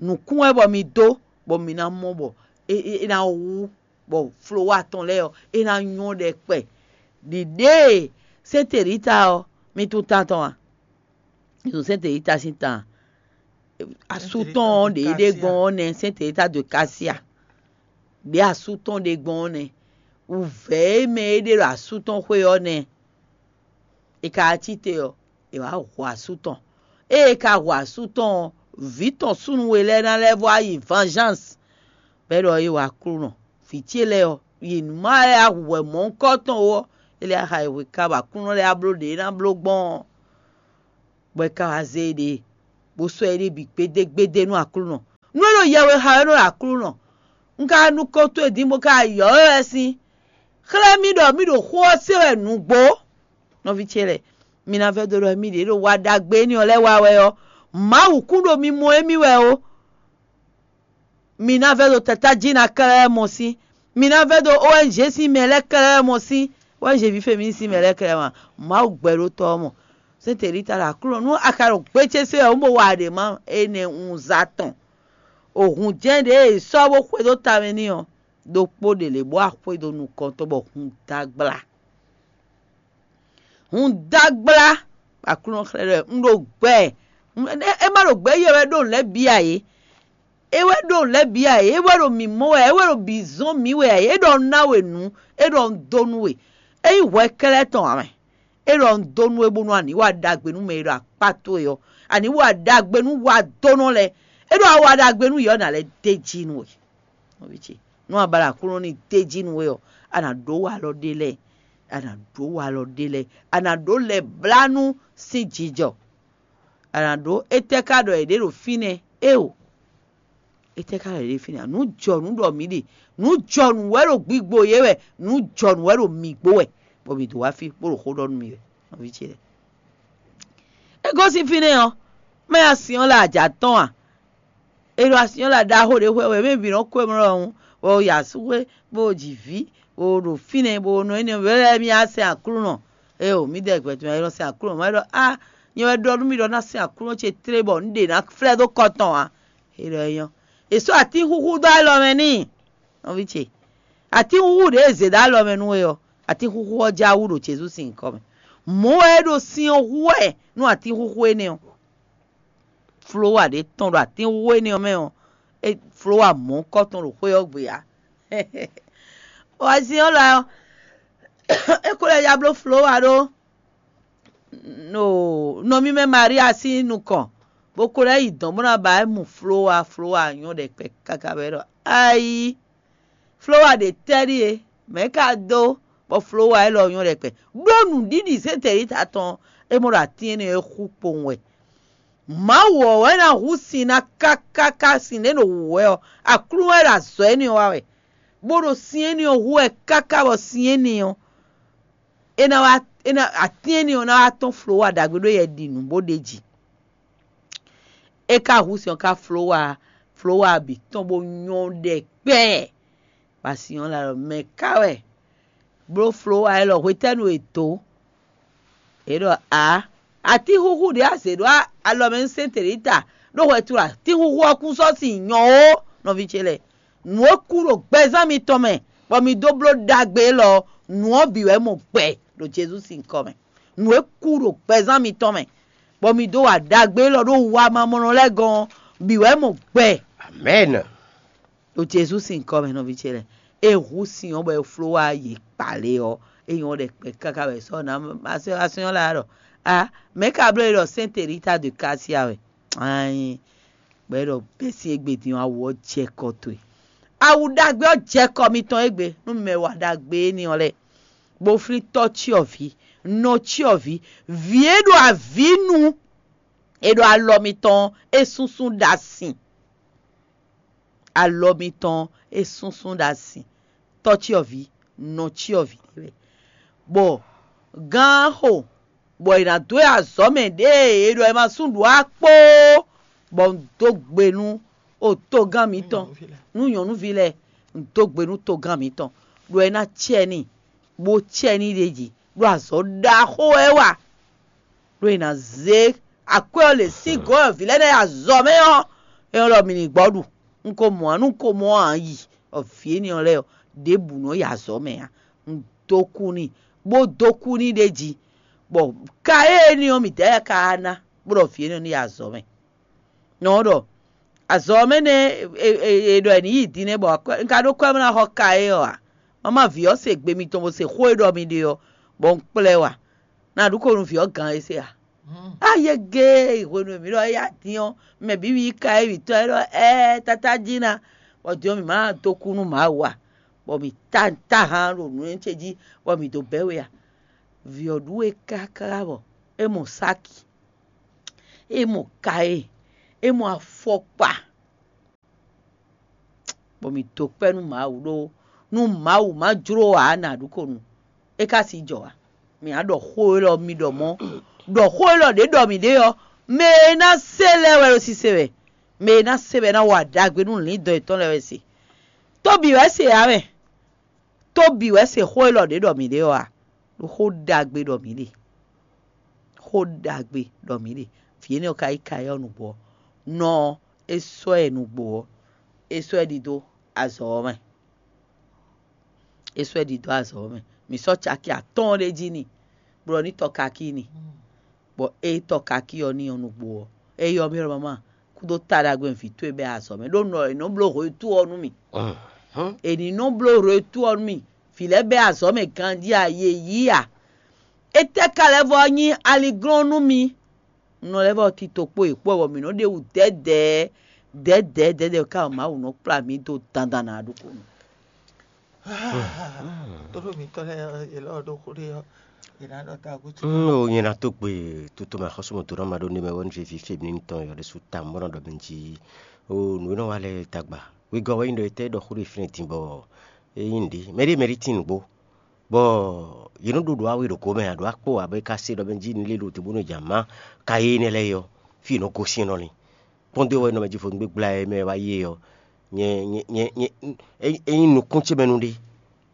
nǔkún wɛ bɔ mi dó, bɔ mi ná mɔ bɔ é é é ná wú, bɔ folówa tɔn lɛ́ɛ ɔ́, é ná nyɔ́ ɖɛkpɛ. Ɖiɖée sɛ́n Telita ɔ́, mi tunwun tan tɔn a? Mi tunwun sɛ́n Telita sín tan a? Asú tɔn ɔ́ ɖě é ɖe gbɔn ɔ́ nɛ́, sɛ́n Telita de Kasia. Ɖě asú tɔn ɖe gbɔn ɔ́ nɛ́. Wǔvɛ́ e mɛ é ɖe ɖo asú tɔn xwé ɔ́ nɛ́. È ka wá cí te ɔ́, è wǎ hu asú tɔn. Ée è ka hu asú tɔn ɔ́, vǐ tɔn súnnu we lɛ́ɛ ná lɛ́ vɔ yi vengeance, bɔ é ɖɔ é wa Aklúnɔ. Vǐ ce lɛ́ɛ ɔ́, yi nǔ má lɛ́ɛ hu wɛ mɔ̌hunkɔtɔn ó ɔ́, é lɛ́ xá yi hwe ká bɔ Aklúnɔ lɛ́ɛ á bló ɖě é ná bló gbɔn ɔ́, bɔ é ka wá zé éɖée. bó sɔ́ éɖée bǐ gbédégbédé nú Aklúnɔ. Nú é ɖo yɛwexá wɛ nú Aklúnɔ, un ka nukɔn towe din bó ka yɔ̌ we wɛ sín. Xlɛ́ mì ɖɔ mì ɖo xó ɔ́ se wɛ nǔgbó. Nɔví ce lɛ́ɛ, mi ná vɛ́ dó ɖɔ émí ɖě ɖo wa ɖagbe énɛ́ ɔ́ lɛ́ɛ wa wɛ ɔ́, Mawu kún ɖo mi mɔ émí wɛ ó. Mi ná vɛ́ ɖo tatá jí ná kɛlɛ́ mɔ sín. Mi ná vɛ́ ɖo O N G sín mɛ lɛ́ɛ kɛlɛ́ mɔ sín. O N G ví fɛ́ mi sín mɛ lɛ́ɛ kɛlɛ́ mɔ. Mawu gbɛɖótɔ́ ɔ́ mɔ. Sɛ́ntɛlítala Aklúnɔ, nú a ka ɖo gbécésé wɛ, un bo wa ɖě ma énɛ́ un za tɔn. Ohun jɛ́n ɖě e è sɔ́ bó xwedó tamɛ n'i ɔ́, ɖokpó ɖě lě bó wá xwedó nukɔn tɔn bɔ hun dó agbla. Hun dó agbla, Aklúnɔ xlɛ́ ɖɔ un ɖo gbɛ. É má ɖo gbɛ yɛ wɛ ɖó nǔ lɛ́ɛ bǐ ǎ é. É wɛ ɖó nǔ lɛ́ɛ bǐ ǎ é. É wɛ ɖo mǐ mɔ wɛ ǎ. É wɛ ɖo bǐ zɔ́n mǐ wɛ ǎ é. É ɖɔ un ná we nǔ. É ɖɔ un dó nú we. É nyí hwɛ kɛ́lɛ́ tɔn ǎ mɛ. É ɖɔ un dó nú we bónú a nǐ wa ɖagbe nú mɛ e ɖo akpá towe ɔ́. A nǐ wa ɖagbe nú wadónɔ lɛ́ɛ. É ɖɔ a wa ɖagbe nú yě ɔ́, nǎ lɛ́ d'é jí nú we. Nɔví ce, nú a ba ɖo Aklúnɔ ní d'é jí nú we ɔ́, a nǎ ɖó walɔ ɖé lɛ́ɛ. A nǎ ɖó walɔ ɖé lɛ́ɛ. A nǎ ɖó lɛ̌blánú sín jijɔ. A nǎ ɖó étɛ́ ka ɖɔ è ɖě ɖo fínɛ́? Éeǒ. Étɛ́ ka ɖɔ è ɖě fínɛ́? Nǔ jɔnǔ ɖɔ mǐ ɖe. Nǔ jɔnǔ wɛ ɖo gbigbo yě wɛ. Nǔ jɔnǔ wɛ ɖo mǐ gbo wɛ. Bɔ mǐ dó wá fí bó ɖo xó ɖɔ nú mì wɛ. Nɔví ce lɛ́ɛ, é gosín fínɛ́ ɔ́, mɛ ya sin ɔ́ lɛ ajǎ tɔn a? È ɖo asyɔ́la ɖaxó ɖé xwɛ wɛ, mɛ bǐ nɔ kó mlɔ́ ɔ́, bɔ ya sú xwé, bó ji vǐ, bó ɖo fínɛ́, bó nɔ énɛ́ wɛ lɛ́ɛ mì asɛn Aklúnɔ. Éeǒ, mǐdɛɛ gbɛtɔ́ mɛ e nɔ sɛn Aklúnɔ mɛ ɖɔ á, nyɛ wɛ ɖɔ nú mì ɖɔ ná sɛn Aklúnɔ ce tlé bɔ nǔ ɖě ná flɛ́ dó kɔ tɔn ǎ. É ɖɔ é nyɔ́. È sɔ́ atín xúxú dó alɔ mɛ n'i, nɔví ce. Atín xúxú ɖě e zě dó alɔ mɛ nú we ɔ́, atín xúxú ɔ́ já wú ɖo Jezu sín nyǐkɔ mɛ. Mɔ̌ wɛ é ɖo sin ɔ́ hu wɛ nú atín xúxú énɛ́ ɔ́. Folówa ɖě tɔn ɖo atínxwé énɛ́ ɔ́ mɛ ɔ́, é folówa mɔ̌kɔ́ tɔn ɖo xwé ɔ́ gbe ǎ. Wazin ɔ́ lɔ ɔ́, é ko lɛ́ ya bló folówa ɖó nɔ mímɛ́ Maria sín nukɔn, bó ko lɛ́ yi dɔ̌n bó ná ba é mu folówa. Folówa nyɔ́ ɖɛkpɛ káká bɔ é ɖɔ ayí. Folówa ɖě tɛ́ ɖíe, mɛ̌ ka dó bɔ folówa élɔ́ nyɔ́ ɖɛkpɛ? Ɖó nǔɖiɖi zětɛnlítɔ́ tɔn e mɔ ɖo atín énɛ́ ɔ́ xú kpowun wɛ. Mawu ɔ́ wɛ ná hu sin ná káká ká sin ɖě ɖo wǔ wɛ ɔ́, Aklúnɔ wɛ ɖo azɔ̌ énɛ́ ɔ́ wa wɛ, bó ɖo sin énɛ́ ɔ́ hu wɛ káká bɔ sin énɛ́ ɔ́, é ná wá é ná atín énɛ́ ɔ́ ná wá tɔ́n folówa ɖagbe ɖó yɛ ɖi nǔ bó ɖ'é jí. É ka hu sin ɔ́ ká folówa, folówa bǐ tɔn bó nyɔ́ ɖɛkpɛ. Bɔ asyɔ́la ɖɔ mɛ̌ ká wɛ bló folówa élɔ́ hwetɛ́nu e dǒ? Yě ɖɔ ǎ, atín xúxú ɖě a zě ɖó alɔ mɛ nú sɛ́n Telita, ɖó hwɛtu ɖo atín xúxú ɔ́ kún sɔ́ sin nyɔ ó, nɔví ce lɛ́ɛ. Nǔ e kú ɖo gbɛzán mitɔn mɛ, bɔ mi dó bló ɖagbe élɔ́ ɔ́, nǔ ɔ́ bǐ wɛ mɔ gbɛ ɖo Jezu sín nyǐkɔ mɛ. Nǔ e kú ɖo gbɛzán mitɔn mɛ, bɔ mi dó wa ɖagbe élɔ́ ɖó wamamɔnɔ lɛ́ɛ gɔ́n ɔ́, bǐ wɛ mɔ gbɛ. Amɛ̌n. Ɖo Jezu sín nyǐkɔ mɛ nɔví ce lɛ́ɛ, é hu sin ɔ́ bɔ é fló wá yě kpalě ɔ́, é nyɔ́ ɖɛkpɛ káká wɛ sɔ́ ná asyɔ́la ɖɔ a mɛ̌ ka bló é ɖɔ sɛ́n Telita de Kasia wɛ? Ayin, bɔ é ɖɔ bɛ́ sín égbé din ɔ́, awu ɔ́ jɛ kɔ towe. Awu ɖagbe ɔ́ jɛ kɔ mitɔn égbé nú mɛ wa ɖagbe énɛ́ ɔ́ lɛ́ɛ, bó flín tɔ́ cyɔvǐ, nɔ cyɔvǐ, vǐ e ɖo avǐ nu, e ɖo alɔ mitɔn é súnsún ɖo asin. Alɔ mitɔn é súnsún ɖo asin. Tɔ́ cyɔvǐ, nɔ cyɔvǐ ɖé wɛ. Bɔ gán xo, bɔ è nǎ dó e azɔ̌ mɛ ɖěe è ɖɔ è ma sú ɖǔ á kpóó, bɔ un dó gbe nú o togán mǐtɔn, nú nyɔ̌nuví lɛ́ɛ, un dó gbe nú togán mǐtɔn, ɖɔ é ná cɛ n'i, bó cɛ n'i ɖ'é jí, ɖó azɔ̌ ɖaxó wɛ é wa. Ɖó è nǎ zé akwɛ́ ɔ́ lě sín gɔ̌n e vǐ lɛ́ɛ ná yi azɔ̌ mɛ ɔ́, é nyɔ́ ɖɔ mì ní gbɔ ɖu. Un ko mɔ ǎ, nú un ko mɔ ǎ yi, bɔ vǐ énɛ́ ɔ́ lɛ́ɛ ɔ́, ɖěbǔ nɔ yi azɔ̌ mɛ ǎ. Un dó kú n'i, bó dó kú n'i ɖ'é jí, bɔ ka énɛ́ ɔ́ mǐ dɛ́ ka ná, bó ɖɔ vǐ énɛ́ ɔ́ ní yi azɔ̌ mɛ. Nɔ ɔ́ ɖɔ azɔ̌ ɔ́ mɛ nɛ́ è ɖɔ è nǐ yi din nɛ́ bɔ un ka ɖó kwɛ́ bó ná xɔ ka é ɔ́ ǎ. Mama vǐ ɔ́ se gbe mitɔn bó se xó e ɖɔ mi ɖe ɔ́, bɔ un kplá ɛ wá. Ná ɖu ko nú vǐ ɔ́ gǎn é se a? Ayége hwenu e mǐ ɖɔ éyá dín ɔ́, mɛ bǐ mi yi ka é mǐtɔn é ɖɔ ɛɛ tata jí ná, bɔ din ɔ́ mǐ ma ná dó kú nú Mawu a? Bɔ mǐ ta ta han ɖo nǔ ce jí, bɔ mǐ dó bɛ́ we a? Vǐ ɔ́ ɖu we káká bɔ é mɔ sáki, é mɔ ka e, É mɔ afɔkpa, bɔ mǐ dó kpɛ́ nú Mawu ɖó nú Mawu má jló ǎ nǎ ɖu ko nu. É ka sixú jɔ ǎ. Mǐ á ɖɔ xó élɔ́ mi ɖɔ mɔ̌, ɖɔ xó élɔ́ ɖě ɖɔ mǐ ɖe ɔ́, mɛ e ná se lɛ́ɛ wɛ ɖo sise wɛ. Mɛ e ná se wɛ ná wa ɖagbe nú lǐndɔn yětɔn lɛ́ɛ wɛ se. Tóbǐ wɛ se ǎ mɛ. Tóbǐ wɛ se xó élɔ́ ɖě ɖɔ mǐ ɖe ɔ́ a? Ɖó xó ɖagbe ɖɔ mǐ ɖe. Xó ɖagbe ɖɔ mǐ ɖe. Vǐ énɛ́ ɔ́ ka yí ka ɔ́ nǔgbó ɔ́, nɔ ɔ́, é sɔ́ ɛ nǔgbó ɔ́, é sɔ́ ɛ ɖidó azɔ̌ ɔ́ mɛ. É sɔ́ ɛ ɖidó azɔ̌ ɔ́ mɛ. Mǐ sɔ́ caki atɔ́ɔ́n ɖé jí n'i, bɔ ní tɔ kakí n'i. Bɔ ée tɔ kakí ɔ́ n'i ɔ́ nǔgbó ɔ́, é ylɔ́ mì ɖɔ: "Mama, kúdó ta ɖagbe vǐ towe bɛ́ azɔ̌ mɛ, ɖó nɔ è nɔ bló hwetu ɔ́ nú mì. È ní nɔ bló hwetu ɔ́ nú mì. Vǐ lɛ́ɛ bɛ́ azɔ̌ mɛ ganjí a, yě yí a. Étɛ́ ka lɛ́ vɔ nyí aliglɔ́n nú mi?" Un nɔ lɛ́ vɔ tito kpó yě kpó wɛ, bɔ mǐ nɔ ɖe wǔ dɛ̌dɛ̌ dɛ̌dɛ̌ dɛ̌dɛ̌ ka Mawu nɔ kplá mǐ dó dandan ná ɖokpónɔ. Tóɖó mǐtɔn lɛ́ɛ ɔ́, yě lɔ ɖó xó ɖé ɔ́, yě ná ɖɔ tagbó tún. Mm, o nyɛ ná tó gbe tutu mɛ xɔsúmɔ dó ná ma ɖó ní mɛ wɛ ní vivi fé mi ní tɔn yɔ ɖésú ta mɔ nɔ ɖɔ mi jí. O nǔ e nɔ wa lɛ dagba. Wegɔ wɛ nyí ɖɔ etɛ ɖɔ xó ɖé fínɛ din bɔ é nyí nǔɖé. Mɛ ɖé mɛ ɖé tín nǔgbó. Bɔ yě nɔ ɖo ɖo awe ɖo gomɛ ǎ ɖo akpó ǎ bɔ é ka se ɖɔ mɛ jí ní lé ɖo te bónú jǎn má ka yé énɛ́ lɛ́ɛ é ɔ́, fí è nɔ gosín nɔ lin. Kpɔ́ndé wɛ nɔ mɛ jí vodún gbégbla e mɛ wá yí é ɔ́, nyɛ nyɛ nyɛ nyɛ é nyí nukún ce mɛ nu ɖé.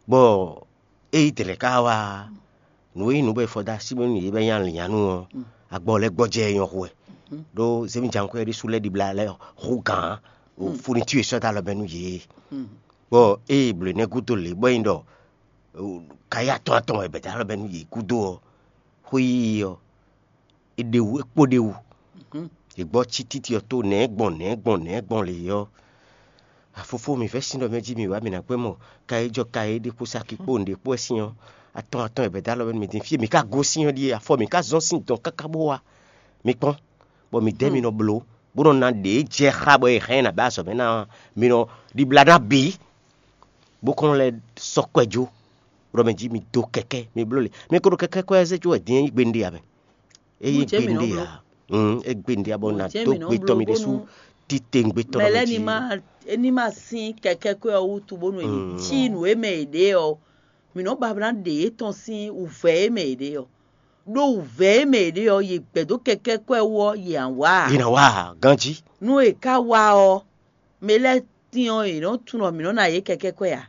Bɔ é yi dlɛ̌ ká wá nǔ e nyí nǔ bɔ è fɔ dó así mɛ nú yě bɔ é nyí alǐnnyánú ɔ́, agbɔ lɛ́ gbɔjɛ́ é nyɔ́ hú wɛ. Ɖó zémí jǎnkwɛ́ ɖésú lɛ́ ɖibla lɛ́ hú gǎn fúnitú e sɔ́ dó alɔ mɛ nú yě. Bɔ ée blǒ énɛ́ gúdo lě bɔ é nyí ɖɔ kayí atɔn atɔn wɛ bɛ̌ dó alɔ mɛ nú yě gúdo ɔ́, xwé yíyí ɔ́, è ɖe wú, é kpo ɖ'é wú. Yě gbɔ cí títí ɔ́ tó nɛ̌ gbɔn nɛ̌ gbɔn nɛ̌ gbɔn lě ɔ́, afofó mǐ vɛ́ sín ɖɔ mɛ jí mǐ wá mǐ ná gbɛ́ mɔ kayí jɔ kayí ɖé kpó saki kpó nǔɖé kpó wɛ sín ɔ́, atɔn atɔn wɛ bɛ̌ dó alɔ mɛ nú mǐ dín fí e mǐ ka gosín ɔ́ ɖíe, afɔ mǐ ka zɔ́n sín dɔn káká bó wá. Mi kpɔ́n, bɔ mǐdɛɛ mi nɔ bló, bó nɔ ná ɖě jɛ xá bɔ è hɛn ɛ nǎ bɛ́ azɔ̌ mɛ ná ɔ́, mi nɔ ɖibla ná bǐ, bó kɔn lɛ́ sɔ́ kwɛ jó, bó ɖɔ mɛ jí mi dó kɛkɛ́, mi bló le. Mi ko ɖo kɛkɛ́ kwɛ zé jó wɛ din é nyí gbe nɖe ǎ mɛ. É nyí gbe nɖe ǎ. É gbe nɖe ǎ bɔ nǎ dó gbe tɔn mi ɖésú titewungbe tɔn mɛ lɛ́ɛ ní má ní má sín kɛkɛ́ kwɛ ɔ́ wútu bónú è ní cí nǔ e mɛ è ɖe ɔ́, mǐ nɔ́ ba ná ɖe yě tɔn sín wǔvɛ́ e mɛ è ɖe ɔ́. Ɖó wǔvɛ́ e mɛ è ɖe ɔ́, yě gbɛ̌ dó kɛkɛ́ kwɛ wú ɔ́, yě ǎ wá ǎ. Yě ná wá ǎ, ganjí. Nú è ká wá ɔ́, mɛ lɛ́ɛ tín ɔ́, yě nɔ́ tunwun ɖɔ mǐ nɔ́ ná yě kɛkɛ́ kwɛ ǎ.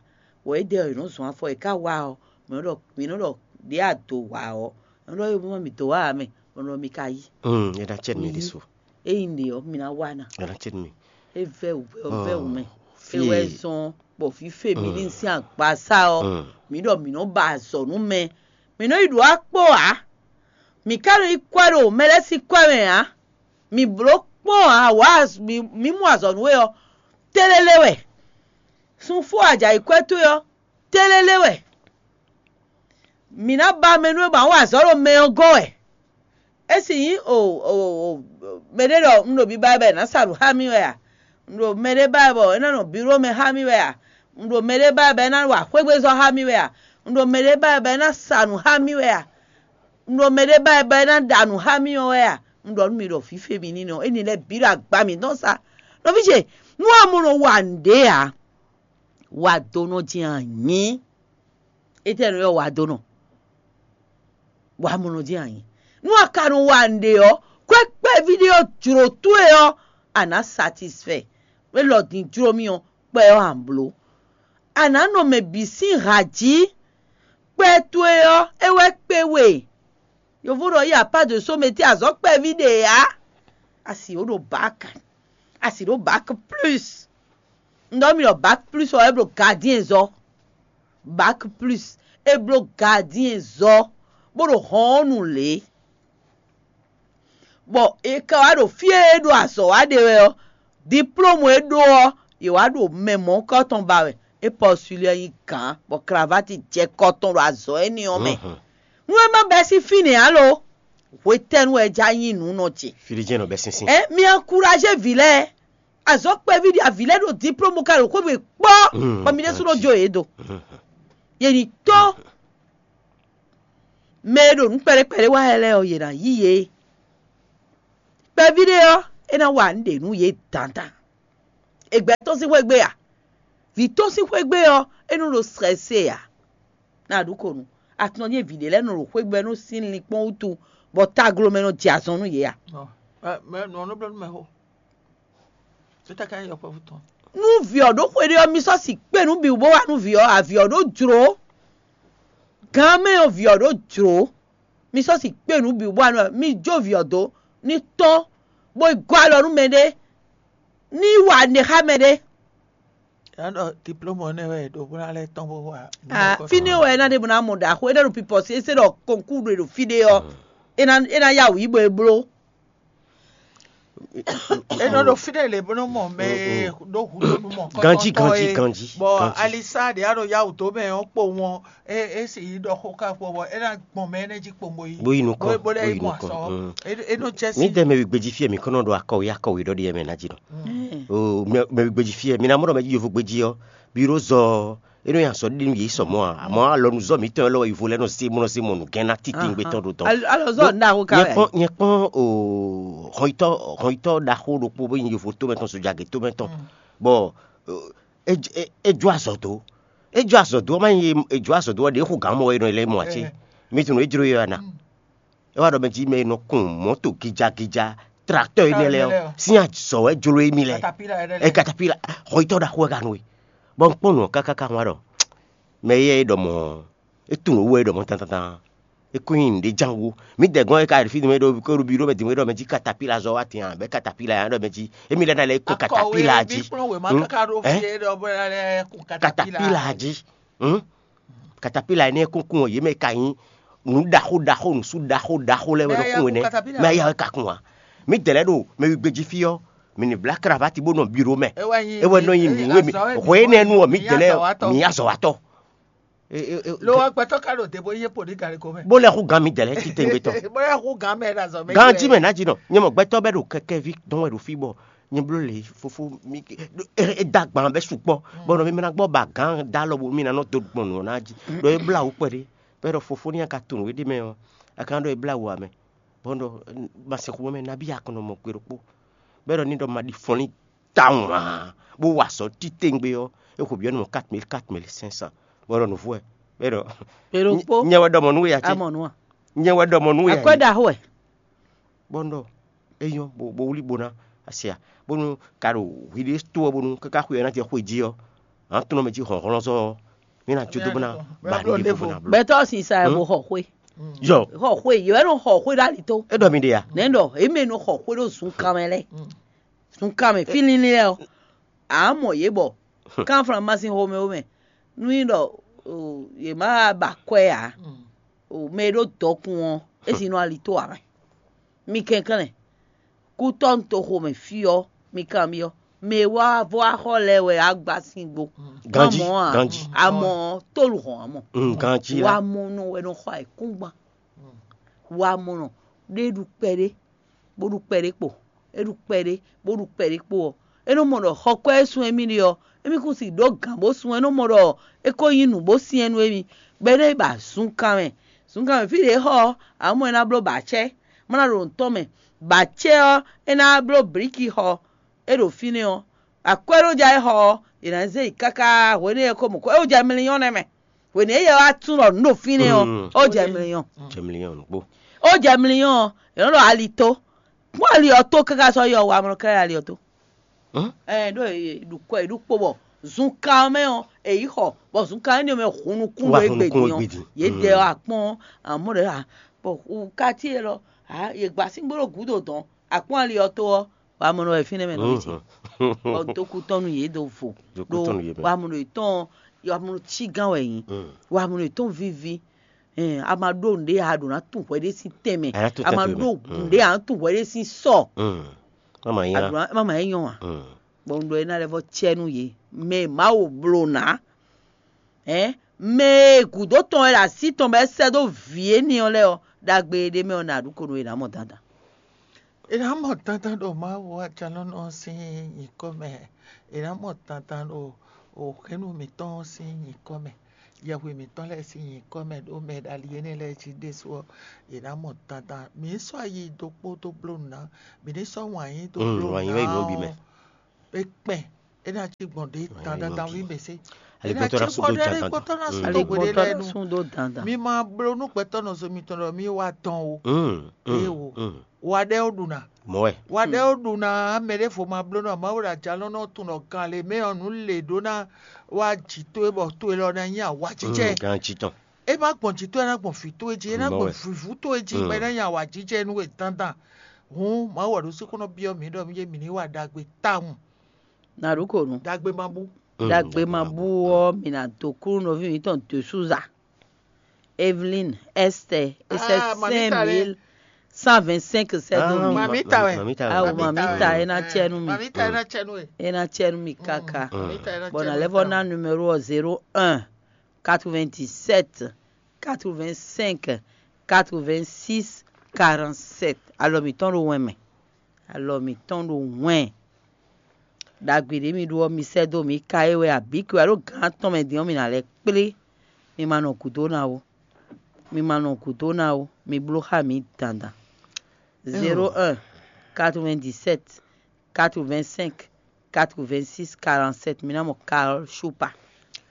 Bɔ édɛɛ ɔ́, yě nɔ́ zɔn afɔ, è ká wá ɔ́, mǐ nɔ́ ɖɔ mǐ nɔ́ ɖɔ ɖě a dǒ wǎ ɔ́, mǐ nɔ́ ɖɔ é mɔ mǐ dǒ wá ǎ mɛ, bɔ nɔ mi ka yí. Mm, é ná cɛ nú mi ɖésú. Ényí ɖě ɔ́, mi ná wá ná. É ná cɛ nú mi. É vɛ́ wǔ vɛ́ ɔ́ vɛ́ wǔ mɛ. É wɛ zɔn bɔ fífé mi ní sín agbasá ɔ́, mǐ ɖɔ mǐ nɔ́ ba azɔ̌ nú mɛ. Mǐ nɔ́ yi ɖo akpó ǎ. Mǐ ka nɔ yi kwɛ́ ɖo mɛ lɛ́ɛ sín kwɛ́ mɛ ǎ. Mǐ bló kpɔ́n ǎ, wǎ mǐ mɔ azɔ̌ nú we ɔ́, télélé wɛ. Sun fó ajǎ yi kwɛ́ towe ɔ́, télélé wɛ. Mǐ ná ba mɛ nú we bɔ a nǎ wa azɔ̌ ɖo mɛ ɔ́ gɔ́n wɛ. É sì nyí o o o mɛɖé ɖɔ un ɖo biba wɛ bɔ è nǎ sa nǔ xá mì wɛ a? Un ɖo mɛɖé ba wɛ bɔ é ná nɔ biró mɛ xá mì wɛ a? Un ɖo mɛɖé ba wɛ bɔ é ná wa xwégbezɔ́ xá mì wɛ a? Un ɖo mɛɖé ba wɛ bɔ é ná sa nǔ xá mì wɛ a? Un ɖo mɛɖé ba wɛ bɔ é ná ɖa nǔ xá mì ɔ́ wɛ a? Un ɖɔ nú mi ɖɔ fǐfe mi ní nɔ éni lɛ́ɛ bǐ ɖo agba mǐtɔn sa. Nɔví ce, nú a mɔ nɔ wa nǔɖé ǎ, wa dó nɔ jɛ́n anyǐ. Étɛ́ nɔ ylɔ́ wa dó nɔ? Wa mɔ nɔ jɛ́n anyǐ. Nú a ka nɔ wa nǔɖé ɔ́, kwɛ́ kpɛví ɖé ɔ́ jlǒ towe ɔ́, a nǎ satisfɛ. Élɔ́ din jló mì ɔ́, kpɛ ɔ́ a nǎ bló. A nǎ nɔ mɛ bǐ sín ha jí. Kpɛ towe ɔ́, é wɛ kpé we. Yovo ɖɔ il y a pas de sommet, azɔ̌ kpɛví ɖe ǎ. A sì ɖo bac. A sì ɖo bac plus. Un ɖɔ mi ɖɔ bac plus ɔ́, é bló gardien zɔ. Bac plus, é bló gardien zɔ, bó ɖo hɔn ɔ́ nu lě. Bɔ è ka wá ɖo fí e é ɖo azɔ̌ wa ɖe wɛ ɔ́, diplôme e é ɖó ɔ́, yě wá ɖo mɛ mɔ̌hunkɔtɔn ba wɛ. É postulé ɔ́ nyí gǎn, bɔ cravate jɛ kɔ tɔn ɖo azɔ̌ énɛ́ ɔ́ mɛ. Nú é má bɛ́ sín fínɛ́ ǎ lo, hwetɛ́nu wɛ é já nyí nǔ nɔ ce? Fí ɖé jɛ́n nɔ bɛ́ sín sín. Ɛ mi encouragé vǐ lɛ́ɛ. Azɔ̌ kpɛví ɖi avǐ lɛ́ɛ ɖo diplôme ka ɖo xwé we kpɔ́, bɔ mi ɖésú nɔ jó yě do. Yě ní tó mɛ e ɖo nǔ kpɛɖé kpɛɖé wa lɛ́ɛ ɔ́, yě ná yí yě. Kpɛví ɖé ɔ́, é ná wa nǔ ɖe nú yě dandan. È gbɛ tɔ́n sín xwé gbe a? Vǐ tɔ́n sín xwé gbe ɔ́, é nɔ ɖo srɛ́sé ǎ. Ná ɖu ko nu. Atɔn nyí vǐ ɖé lɛ́ɛ nɔ ɖo xwé gbe nú sín linkpɔ́n wútu, bɔ taglo mɛ nɔ jɛ azɔn nú yě a? Mɛ nɔ nɔ blɔ́ nú mɛ xó. Títá ká nyí yɔkpɔ́vú tɔn. Nú vǐ ɔ́ ɖó xwe ɖé ɔ́, mi sɔ́ si kpé nǔ bǐ bó wá nú vǐ ɔ́, avǐ ɔ́ ɖó jlǒ. Gǎn mɛ ɔ́, vǐ ɔ́ ɖó jlǒ. Mi sɔ́ si kpé nǔ bǐ bó wá nú mi jó vǐ ɔ́ dó ní tɔ́n, bó yi gɔ́ alɔ nú mɛɖé, ní wa nǔɖé xá mɛɖé. Yǎ ɖɔ diplôme ɔ́ nɛ́ wɛ ɖo bó ná lɛ́ tɔ́n bó wa. Ah, fínɛ́ wɛ é ná ɖe bó ná mɔ ɖaxó, é ná ɖo pipɔ́ sí é se ɖɔ kɔnkúɖu e ɖo fí ɖé ɔ́, é ná é ná yá wǔ yí bɔ é bló. É nɔ ɖo fínɛ́ lě bó nɔ mɔ mɛ e ɖó hǔɖónú mɔ Ganjí, ganjí, ganjí, bɔ ganjí. Alisa ɖě a ɖo yá wǔ dó mɛ ɔ́ kpo wɔn é é sì yi ɖɔ xó ká kpɔ bɔ é ná gbɔn mɛ énɛ́ jí kpo bó yi. Bó yi nukɔn, Bó lɛ́ bó yi yi mɔ nukɔn, azɔn. Mm. É é nɔ jɛ Mí sí. dɛ mɛ wígbé jí fí ɛ mǐ kɔn nɔ ɖo akɔwé akɔwé ɖɔ ɖi yɛ mɛ ná jí nɔ. O mɛ mɛ wígbé jí fí ɛ mǐ ná mɔ ɖɔ mɛ jí yovo gbé jí ɔ́, bí ɖó zɔ ɔ́, é nɔ nyi azɔ ɖi nú yě sɔ mɔ̌ ǎ. Àmọ́ alɔnuzɔ́ mǐtɔn lɔ wɛ yovo lɛ́ɛ nɔ sí mɔ nɔ sí mɔ nǔgɛ́n ná tití gbé tɔn ɖo tɔn. Alɔzɔ ná ko ka Nyɛ wɛ. kpɔn nyɛ kpɔn o hɔnyitɔ hɔnyitɔ ɖaxó ɖokpó bó nyi yovo tómɛ tɔn sojagé tómɛ tɔn. Bɔ o, é é- é jó azɔ dó. É jó azɔ dó ɔ́ má nyí é jó azɔ dó ɔ́ ɖě xo gǎn mɔ wɛ é nɔ lɛ́ mɔ ǎ cé? Mi tunú é jló yɔ ana. É wá ɖɔ mɛ jí mɛ e nɔ kun mɔ̌to gijagija tracteurs énɛ́ lɛ́ɛ ɔ́ sín azɔ̌ wɛ jló émí lɛ́ɛ. Katapila ɛɖɛ Ɛ katapila xɔyítɔ́ ɖaxó wɛ ka nú we. Bɔ un kpɔ́n nǔ ɔ́ káká ká wá ɖɔ mɛ éyɛ́ é ɖɔ mɔ̌ é tunwun owó é ɖɔ mɔ̌ tantantán. É kún nyí nǔɖé ján wú. Mǐ dɛ gɔ́n é ka ɖi fí din mɛ ɖo kó ɖo bi ɖó mɛ din mɛ ɖɔ mɛ jí katapila zɔ wá tɛn ǎ bɛ katapila ǎ ɖɔ mɛ jí. Émí lɛ́ɛ ná lɛ́ kó katapila jí. Kplɔ́n wěma Hmm? káká ɖó Ɛ? fí é ɖɔ bó ná lɛ́ kó Katapila jí. Hmm? Katapila énɛ́ kúnkún ɔ́ yě mɛ ka nyí nǔ ɖaxó ɖaxó nǔsú ɖaxó ɖaxó lɛ́ɛ wɛ Mɛ ɖo ya kún kó énɛ́. katapila. Mɛ ya wɛ ka kún wa. Mí dɛ lɛ́ɛ ɖo mɛ wígbé jí fí ɔ́, mǐ ní blá kravati bó nɔ biro mɛ. É wɛ nɔ nyi nǔ e mǐ hwɛ énɛ́ nu ɔ́ mǐ dɛ lɛ́ɛ mǐ azɔ̌watɔ. Lo wá gbɛtɔ́ ká ɖo dě bó yé poli galigo mɛ. Bó lɛ́ xú gán mí dɛ lɛ́ɛ títɛngbé tɔn. Bó lɛ́ xú gán mɛ ɖo azɔ̌ mɛ. Ganji mɛ ná jí nɔ nyɛ mɔ gbɛtɔ́ bɛ ɖo kɛkɛvi dɔn wɛ ɖo fí bɔ nyɛ bló le fofo mi e da gban bɛ sukpɔ bɔ nɔ mi mɛ na gbɔ ba gan da lɔ bo mi na nɔ do gbɔn nɔ na jí ɖɔ e bla wú kpɛɖe bɛ ɖɔ fofo ni a ka to nǔ e ɖe mɛ ɔ a ka ɖɔ e bla wú amɛ bɔ ɖɔ ma se xu mɛ nabi akɔnɔ mɔ kpe ɖokpo bɛ ɖɔ ni ɖɔ ma ɖi fɔn ni tawun aa bó wa sɔ titengbe ɔ e xo biɔ nɔ quatre mille quatre mille cinq cents bɔ ɖɔ nǔvú ɛ bɛ ɖɔ Èrò pó nyɛ wɛ ɖɔ mɔ nú ya ce amɔnua nyɛ wɛ ɖɔ mɔ nú ya akwɛ ɖaxó ɛ bɔnɔ eyɔn bo bo wuli bona asia bonu ka ɖo hwiɖe to ɔ bonu kaka xwe ɔna jɛ xwe ji ɔ an tɔnɔ mɛ ji hɔnhlɔn sɔ mi na jo do bona ba ni bo bona blo gbɛtɔ sisa ɛ bo xɔ xwe yɔ xɔ xwe yɛ nɔ xɔ xwe ɖo ali to e dɔ mi de ya nɛ dɔ eme nɔ xɔ xwe ɖo zun kan mɛ lɛ zun kan mɛ fi lili lɛ o amɔ ye bɔ kan flan ma sin xomɛ wo mɛ nu yi dɔ ye ma ba kɔɛ ya o mɛ ɖo dɔkun ɔ esi nɔ ali to amɛ mi kɛnklɛn kútɔ́ toxo mɛ fí ɔ́ mi kanbyɔ́ mɛ e wá vɔ axɔ lɛ́ɛ wɛ á gbá sín gbo Ganji, Má mɔ ǎ. ganji. Amɔ tólu hɔn amɔ Mm, ganji wa la mɔ nɔ wɛ nɔ xɔ ayǐkúngban wa mɔ nɔ ɖé ɖu kpɛɖé bó ɖu kpɛɖé kpo é ɖu kpɛɖé bó ɖu kpɛɖé kpo ɔ́ é nɔ mɔ ɖɔ xɔ kɔ́ é sun émí ɖe ɔ́ émí kún si ɖó gǎn bó sun é nɔ mɔ ɖɔ é ko nyí nǔ bó syɛ́n nú émí bɔ é nɔ yi ba zunkan mɛ zunkan mɛ fí ɖě xɔ ɔ́ amɔ é ná bló ba acɛ́ má ná ɖo nǔ tɔn mɛ ba acɛ́ ɔ́ é ná bló blǐki xɔ é ɖo fínɛ́ ɔ́ akwɛ́ ɖó ja é xɔ ɔ́ è nǎ zé yi káká hwenɛ́ é ko mɔ kɔ é wó jɛ mliyɔ́n nɛ́ mɛ hwenɛ́ é yɛ wá tún ɖɔ nǔ ɖo fínɛ́ ɔ́ Mm. ó jɛ mliyɔ́n jɛ miliyɔn nukpo ó jɛ mliyɔ́n ɔ́ è nɔ ɖɔ ali tó kpɔ́n ali ɔ́ tó káká sɔ́ yɔ wa mlɔ ká ali ɔ́ tó Hã? ɛ ɖó ɖukɔ è ɖukpo bɔ zunkan ɔ́ mɛ ɔ́ èyí xɔ bɔ zunkan énɛ́ mɛ hun nukún Wá ɖo hun nukún égbé égbé din din. ɔ́ yě dɛ ɔ́ akpɔ́n amɔ́ ɖe ha bɔ kati é lɔ ha yě gba síngbó ɖo gǔdo dɔn akpɔ́n ali ɔ́ tó ɔ́ wa mɔ nɔ wɛ fínɛ́ mɛ nɔ yí ti bɔ dókú tɔn nú yě do vo Dókú tɔn nú yě mɛ. wa mɔ nɔ yě tɔn wa mɔ nɔ cí gán wɛ yín Mm. wa mɔ nɔ yě tɔn víví ɛ a ma ɖó nǔɖé a ɖǒ ná tún hwɛ ɖé sín tɛnmɛ A ná tún a ma tɛnmɛ. ɖó Mm. nǔɖé a ná tún hwɛ ɖé sín sɔ Mm. Mama yi a la. ɖǒ ná ma ma é nyɔ wa Mm. bɔ un ɖɔ é ná lɛ́ vɔ cɛ nú yě mɛ Mawu bló ná ɛ mɛ e gǔdo tɔn wɛ ɖo así tɔn bɔ é sɛ́ dó vǐ énɛ́ ɔ́ lɛ́ɛ ɔ́ ɖagbe ɖé mɛ ɔ́ nǎ ɖu ko nú yě ná mɔ dandan È nǎ mɔ dandan ɖo Mawu ajalɔ́nɔ sín nyǐkɔ mɛ. È nǎ mɔ dandan ɖo òxénu mǐtɔn sín nyǐkɔ mɛ. Yɛhwe mǐtɔn lɛ́ɛ sín nyǐkɔ mɛ ɖó mɛ ɖali énɛ́ lɛ́ɛ jí ɖésú ɔ́, è nǎ mɔ dandan. Mǐ ní sɔ́ ayi dó kpó dó bló nǔ ná, mǐ ní sɔ́ wǎn yí dó Mm, bló wǎn yí nǔ wɛ yi nǔ bǐ mɛ. Ɔ́, é kpɛn, é ná cí gbɔn ɖě Wǎn yí dandan nǔ dan bǐ wí mɛ. Mɛ sí. É ná Aligbɔtɔ ná cí sú gbɔn dó ɖé dandan. Aligbɔtɔ ná Mm. sú dó Aligbɔtɔ hweɖé ná lɛ́ɛ nu. Sú dó dandan. Mi ma bló nú gbɛtɔ́ nɔ zo mitɔn ɖɔ mí wá dɔn o. Mm, mm, Éwo. Mm. Wa ɖɛ́ ó ɖu ná. Mɔ̌ wɛ. Wa ɖɛ́ ó ɖu ná mɛ ɖěvo ma bló nɔ Mawu ɖo ajalɔ́nɔ tun ɖɔ gan lě mɛ ɔ́, nǔ lě ɖó ná wá jǐ towe bɔ towe lɔ ná nyí awǎjijɛ. Mm, gan jí tɔn. É má gbɔn jǐ towe, é ná gbɔn vǐ towe jí, é ná Mɔ̌ gbɔn wɛ. Vǐvú towe jí, Mm. bɔ é ná nyí awǎjijɛ nú we dandan. Hǔn Mawu wɛ ɖo sí kó nɔ byɔ́ mǐ ɖɔ mí mí ní wa ɖagbe tawun. Nǎ ɖu kǒ nu. Ɖagbe ma bú. Mm, Ɖagbe ma bú ɔ́, mǐ ná dó kú nɔví mǐtɔn Dosúza. Evelyn, Esther, é sɛ́ Ah, mamita lɛ́ɛ. Cinq mille cent vingt-cinq sɛ́ dó Ah, mì. ma- Mamita wɛ. Mamita wɛ. Awo Mamita mamita wɛ. É ná cɛ nú mi. Mamita é ná cɛ nú we. É ná cɛ nú mi káká. Mm. Mamita é ná Bɔn cɛ nú nalɛ́ we vɔ ná tawun. Numéro ɔ́ zéro un quatre-vingt-dix-sept quatre-vingt-cinq quatre-vingt-six quarante-sept. Alɔ mǐtɔn ɖo wɛn mɛ. Alɔ mǐtɔn ɖo wɛn. Ɖagbe ɖě mi ɖó ɔ́, mi sɛ́ dó mǐ ka é wɛ abǐ kɛ wɛ ɖó gǎn atɔn mɛ din ɔ́, mi ná lɛ́ kplé. Mi ma nɔ gǔdo ná ó. Mi ma nɔ gǔdo ná ó. Mi bló xá mǐ dandan. Zéro un quatre-vingt-dix-sept quatre-vingt-cinq quatre-vingt-six quarante-sept. Mi ná mɔ Carole Choupa.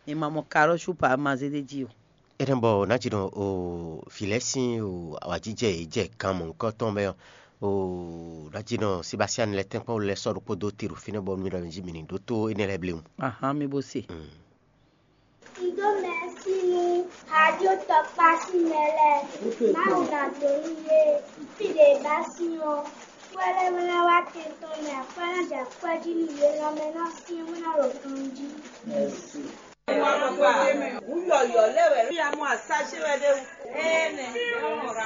Mi ma mɔ Carole Choupa ma zé ɖ'é jí o. Énɛ́ bɔ ná jí nɔ o vǐ lɛ́ɛ sín o awǎjijɛ e jɛ gan mɔ̌hunkɔtɔn mɛ ɔ́, o ná jí nɔ Sebasiani lɛ́ɛ tɛ́nkpɔ́n lɛ́ɛ sɔ́ ɖokpó dó te ɖo fínɛ́ bɔ mi ɖɔ mi jí mi ní ɖótó énɛ́ lɛ́ɛ bléwún. Ahán mi bó se. Mm. Un dó mɛ̌si nú hajó tɔkpá sín mɛ lɛ́ɛ. Mawu ná dó nú yě. Fí ɖě ba sín ɔ́, kwɛ́ lɛ́ɛ wɛ ná wá tɛn tɔn mɛ, akwɛ́ ná jɛ akwɛ́ jí nú yě, lanmɛ ná syɛ́n bó ná ɖo ganjí. Wǔ yɔ̌yɔ́ lɛ́ wɛ. Fí amú asá ce wɛ ɖé wú. Énɛ́.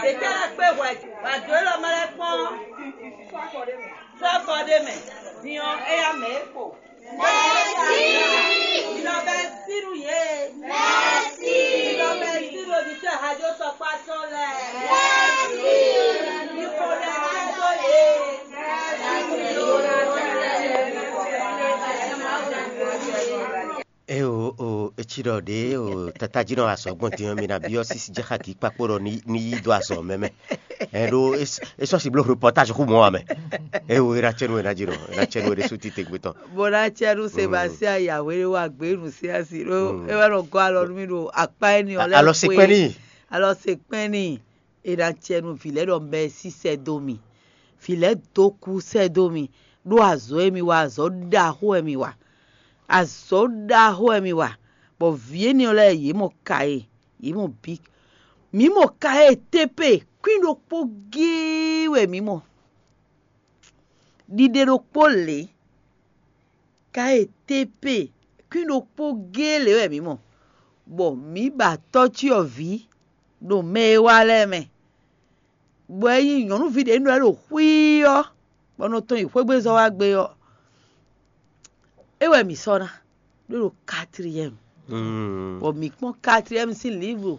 Ɖětɛ́ lɛ́ kpé hwɛ. Wǎ dó élɔ́ mɛ lɛ́ kpɔ́n. Sɔ́ kɔ ɖé mɛ. Din ɔ́, éyá mɛ é kpo. Mɛsi. Ìlọ bɛ sínú yé. Mɛsi. Ìlọ bɛ sínú oditɔ hajó sɔkpá tɔn lɛ. Mɛsi. Ikɔ lɛ ká dó yé. Mɛsi. E o o etsi ɖɔ ɖě o tata jí nɔ azɔ̌ gbɔn din ɔ́, mi ná byɔ́ sísí jɛ xá kǐ kpakpo ɖɔ ní ní yí dó azɔ̌ mɛ mɛ. Ɛ ɖó é sɔ́ si bló reportage xú mɔ̌ wá mɛ. E o e ná cɛ nú e ná jí nɔ e ná cɛ nú e ɖésú titewungbe tɔn. Bó ná cɛ nú Sebastien Yahweh wa gbé nú sí asi ɖó é wá nɔ gɔ́ alɔ nú mì ɖo akpá éní ɔ́ lɛ́ɛ. Alɔ se kpɛ́n n'i. Alɔ se kpɛ́n n'i. E ná cɛ nú vǐ lɛ́ɛ ɖɔ mɛ sísɛ́ dó mì. Vǐ lɛ́ɛ dó kú sɛ́ dó mì, ɖó azɔ̌ e mi wa, azɔ̌ ɖaxó wɛ mi wa. Azɔ̌ ɖaxó wɛ mi wa, bɔ vǐ énɛ́ ɔ́ lɛ́ɛ yě mɔ ka e, yě mɔ bǐ. Mǐ mɔ ka e tépé, kwín ɖokpó géé wɛ mǐ mɔ. Ɖiɖe ɖokpó lě, ka e tépé, kwín ɖokpó géé lě wɛ mǐ mɔ, bɔ mǐ ba tɔ́cyɔvǐ ɖo mɛ e wá lɛ́ɛ mɛ. Bɔ é nyí nyɔ̌nuví ɖě nɔ ɛ ɖo xwíí ɔ́, bɔ nɔ tɔn yi xwégbézɔ́ wá gbé ɔ́, é wɛ mǐ sɔ́ ná ɖó ɖo quatrième. Bɔ mǐ kpɔ́n quatrième sín livre